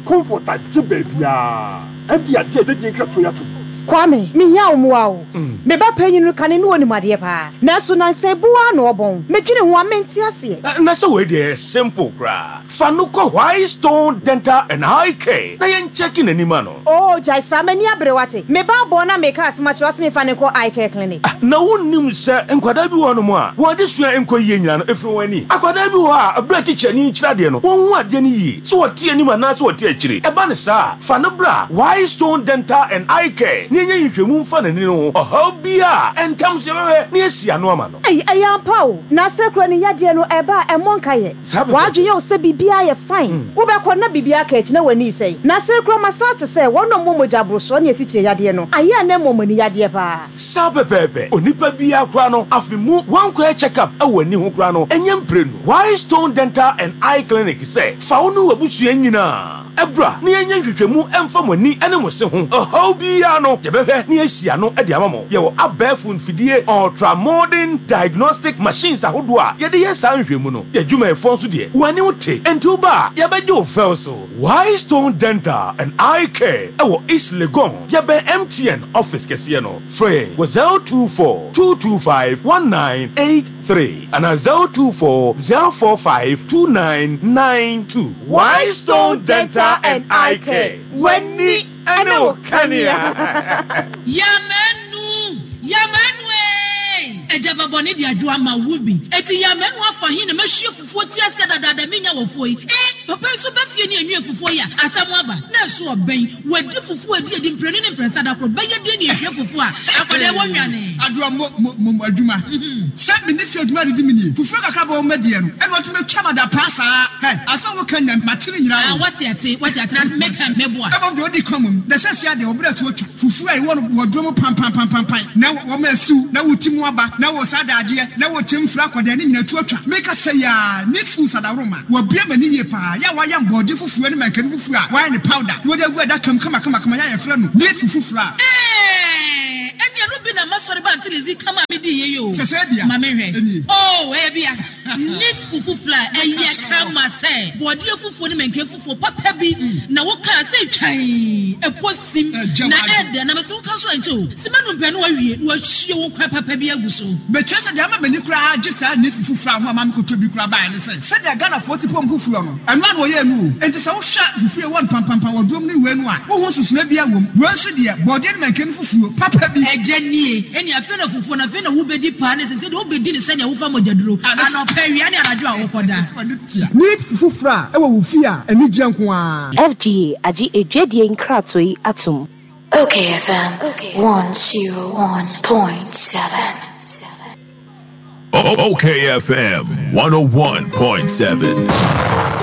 Comfort agye baabiara. FDA agye adwadie nkratoɔ yi atom. Kwame, mehia wo mmoa o. Me ba panyin no, kane no onim adeɛ paa, nanso nansa yi bo ara na ɔbɔn. Medwene ho a, mente aseɛ. Na sɛ wei deɛ ɛyɛ simple koraa. Fa no kɔ White Stone Dental and Eye Care na yɛn kyɛke n'ani ma no. Oo gyae saa, m'ani abere wate. Me ba abɔn na meka asɛm akyerɛ wo ase memfa no nkɔ eye care clinic. Na wonnim sɛ nkwadaa bi wɔ hɔnom a, wɔn adesua nkɔ yie nyinaa no, ɛfiri wɔn ani. Akwadaa bi wɔ hɔ a, berɛ a tikyani rekyerɛ adeɛ no, wɔnhu adeɛ no yie, sɛ ɔte anim anaasɛ ɔte akyire. Ɛba no saa a, fa no bra White Stone Dental and Eye Care na yɛnyɛ nhwehwɛmu mfa n'ani no ho ɔhaw biara a, ntɛm so yɛbɛhwɛ na yɛasi ano ama no. Ei, ɛyɛ ampa o. Na sɛ kura ne yadeɛ no ɛba a, ɛmmɔ nkayɛ. Saa pɛpɛɛpɛ. W'adwene yɛ wo sɛ biribiara yɛ fine. Wobɛkɔ na biribiara aka akyi na w'ani resɛe. Na sɛ kura masan ate sɛ wɔn a wɔwɔ mogya aborosoɔ ne asikyire yadeɛ no, ayɛ a na ɛmmɔ wɔn ani yadeɛ paa. Saa pɛpɛɛpɛ. Onipa biara koraa no, afe mu wankɔyɛ check up wɔ ani ho koraa no, ɛnyɛ mprenu. Why Stone Dental and Eye Clinic sɛ fa wo ne w'abusua nyinaa bra na yɛnyɛ nhwehwɛmu mfa mo ani ne mo se ho ɔhaw biara no, yɛbɛhwɛ na yɛasi ano de ama mo. Yɛwɔ abɛɛfo mfidie, ultra modern diagnostic machines ahodoɔ a yɛde yɛ saa nhwehwɛmu no. Yɛn adwumayɛfoɔ nso deɛ, wɔn anim te, enti woba a, yɛbɛgye wo fɛw so. Why Stone Dental and Eye Care wɔ East Legon, yɛbɛn MTN office kɛseɛ no. Frɛ yɛn wɔ 024 225 1983 anaa 024 045 2992. Why Stone Dental and Eye Care, w'ani ne wo kanea. Yamanu! Yamanu eei! Agya ba bɔne de adwo ama wo bi. Enti Yamanu afa he na mahwie fufuo ti aseɛ dadaada menya wɔ fuo yi? Eh! Papa yi nso ba fie ne anwie fufuo yi a, asɛm aba. Na ɛso ɔbɛn. Wadi fufuo adi adi mprenu ne mprɛnsa da koro. Bɛyɛ den ne ahwie fufuo a akwadaa yi wɔ nwane. Adoa mo mo mo adwuma. Sɛ me ne fie adwuma redi me nie. Fufuo kakra bɔ wɔn madiɛ no ɛna wɔtumi atwa me adapaa saa. Hɛ, asɛm a woka nyinaa mate ne nyinaa o. Ah, wate ate, wate ate na meka meboa. Mmom deɛ ɔdi kan mmom, na seesei adeɛ wɔbrɛ to atwa. Fufuo a yɛwɔ no wɔ duro mu panpanpanpanpan na wɔma asiw na woti mu aba na wɔ saa dadeɛ na wɔ kyɛm firi akɔdɛn ne nyinaa tu atwa. Meka sɛ yi aa Neat Foods adaworoma wɔabue m'ani yie paa yɛ a wɔayam bɔɔde fufuo ne mankani fufuo a wɔayɛ no powder na wɔde agu adaka mu kamakamakama yɛ a yɛfrɛ no Neat Fufu Flour. Eeii ɛneɛ no bi na masɔre ba Auntie Lizzie kama a medii yei oo Sɛ sɛ bia ma menhwɛ ɛnie. Oo ɛyɛ bia Neat Fufu Flour ɛyɛ kama sɛ bɔɔdeɛ fufuo ne mankani fufuo papa bi na wokaa sɛ twann ɛkɔ sim Ɛgya na w'adwene. ɛdɛ na mese woka nso ɛnkyɛ o sima num pɛ na wawie na wahwie wo nkwan papa bi agu so. Mekyerɛ sɛ deɛ ama m'ani koraa agye saa neat fufu flour ho a maame kɔtɔ bi koraa baeɛ ne sɛ, sɛdeɛ Ghanafoɔ si pam fufuo no, ɛno ara na wɔyɛɛ no o. Enti sɛ wohwɛ fufuo a ɛwɔ mpampampa wɔ drom ne wei no a, wonhu nsusunoeɛ biara wɔ mu. Wei nso deɛ, bɔɔdeɛ ne mankani fufuo papa bi. Agya nie, ɛnneɛ afei na fufuo no, afei na wobɛdi paa ne sɛ sɛdeɛ wobɛdi no sɛdeɛ wofa mogyaduro, anɔpa, awia ne anadwo a wokɔda. Neat fufu flour wɔ wo fie a, anigyeɛ nko ara. FDA agye adwadie nkratoɔ yi atom. Okay FM 101.7. Okay FM 101.7.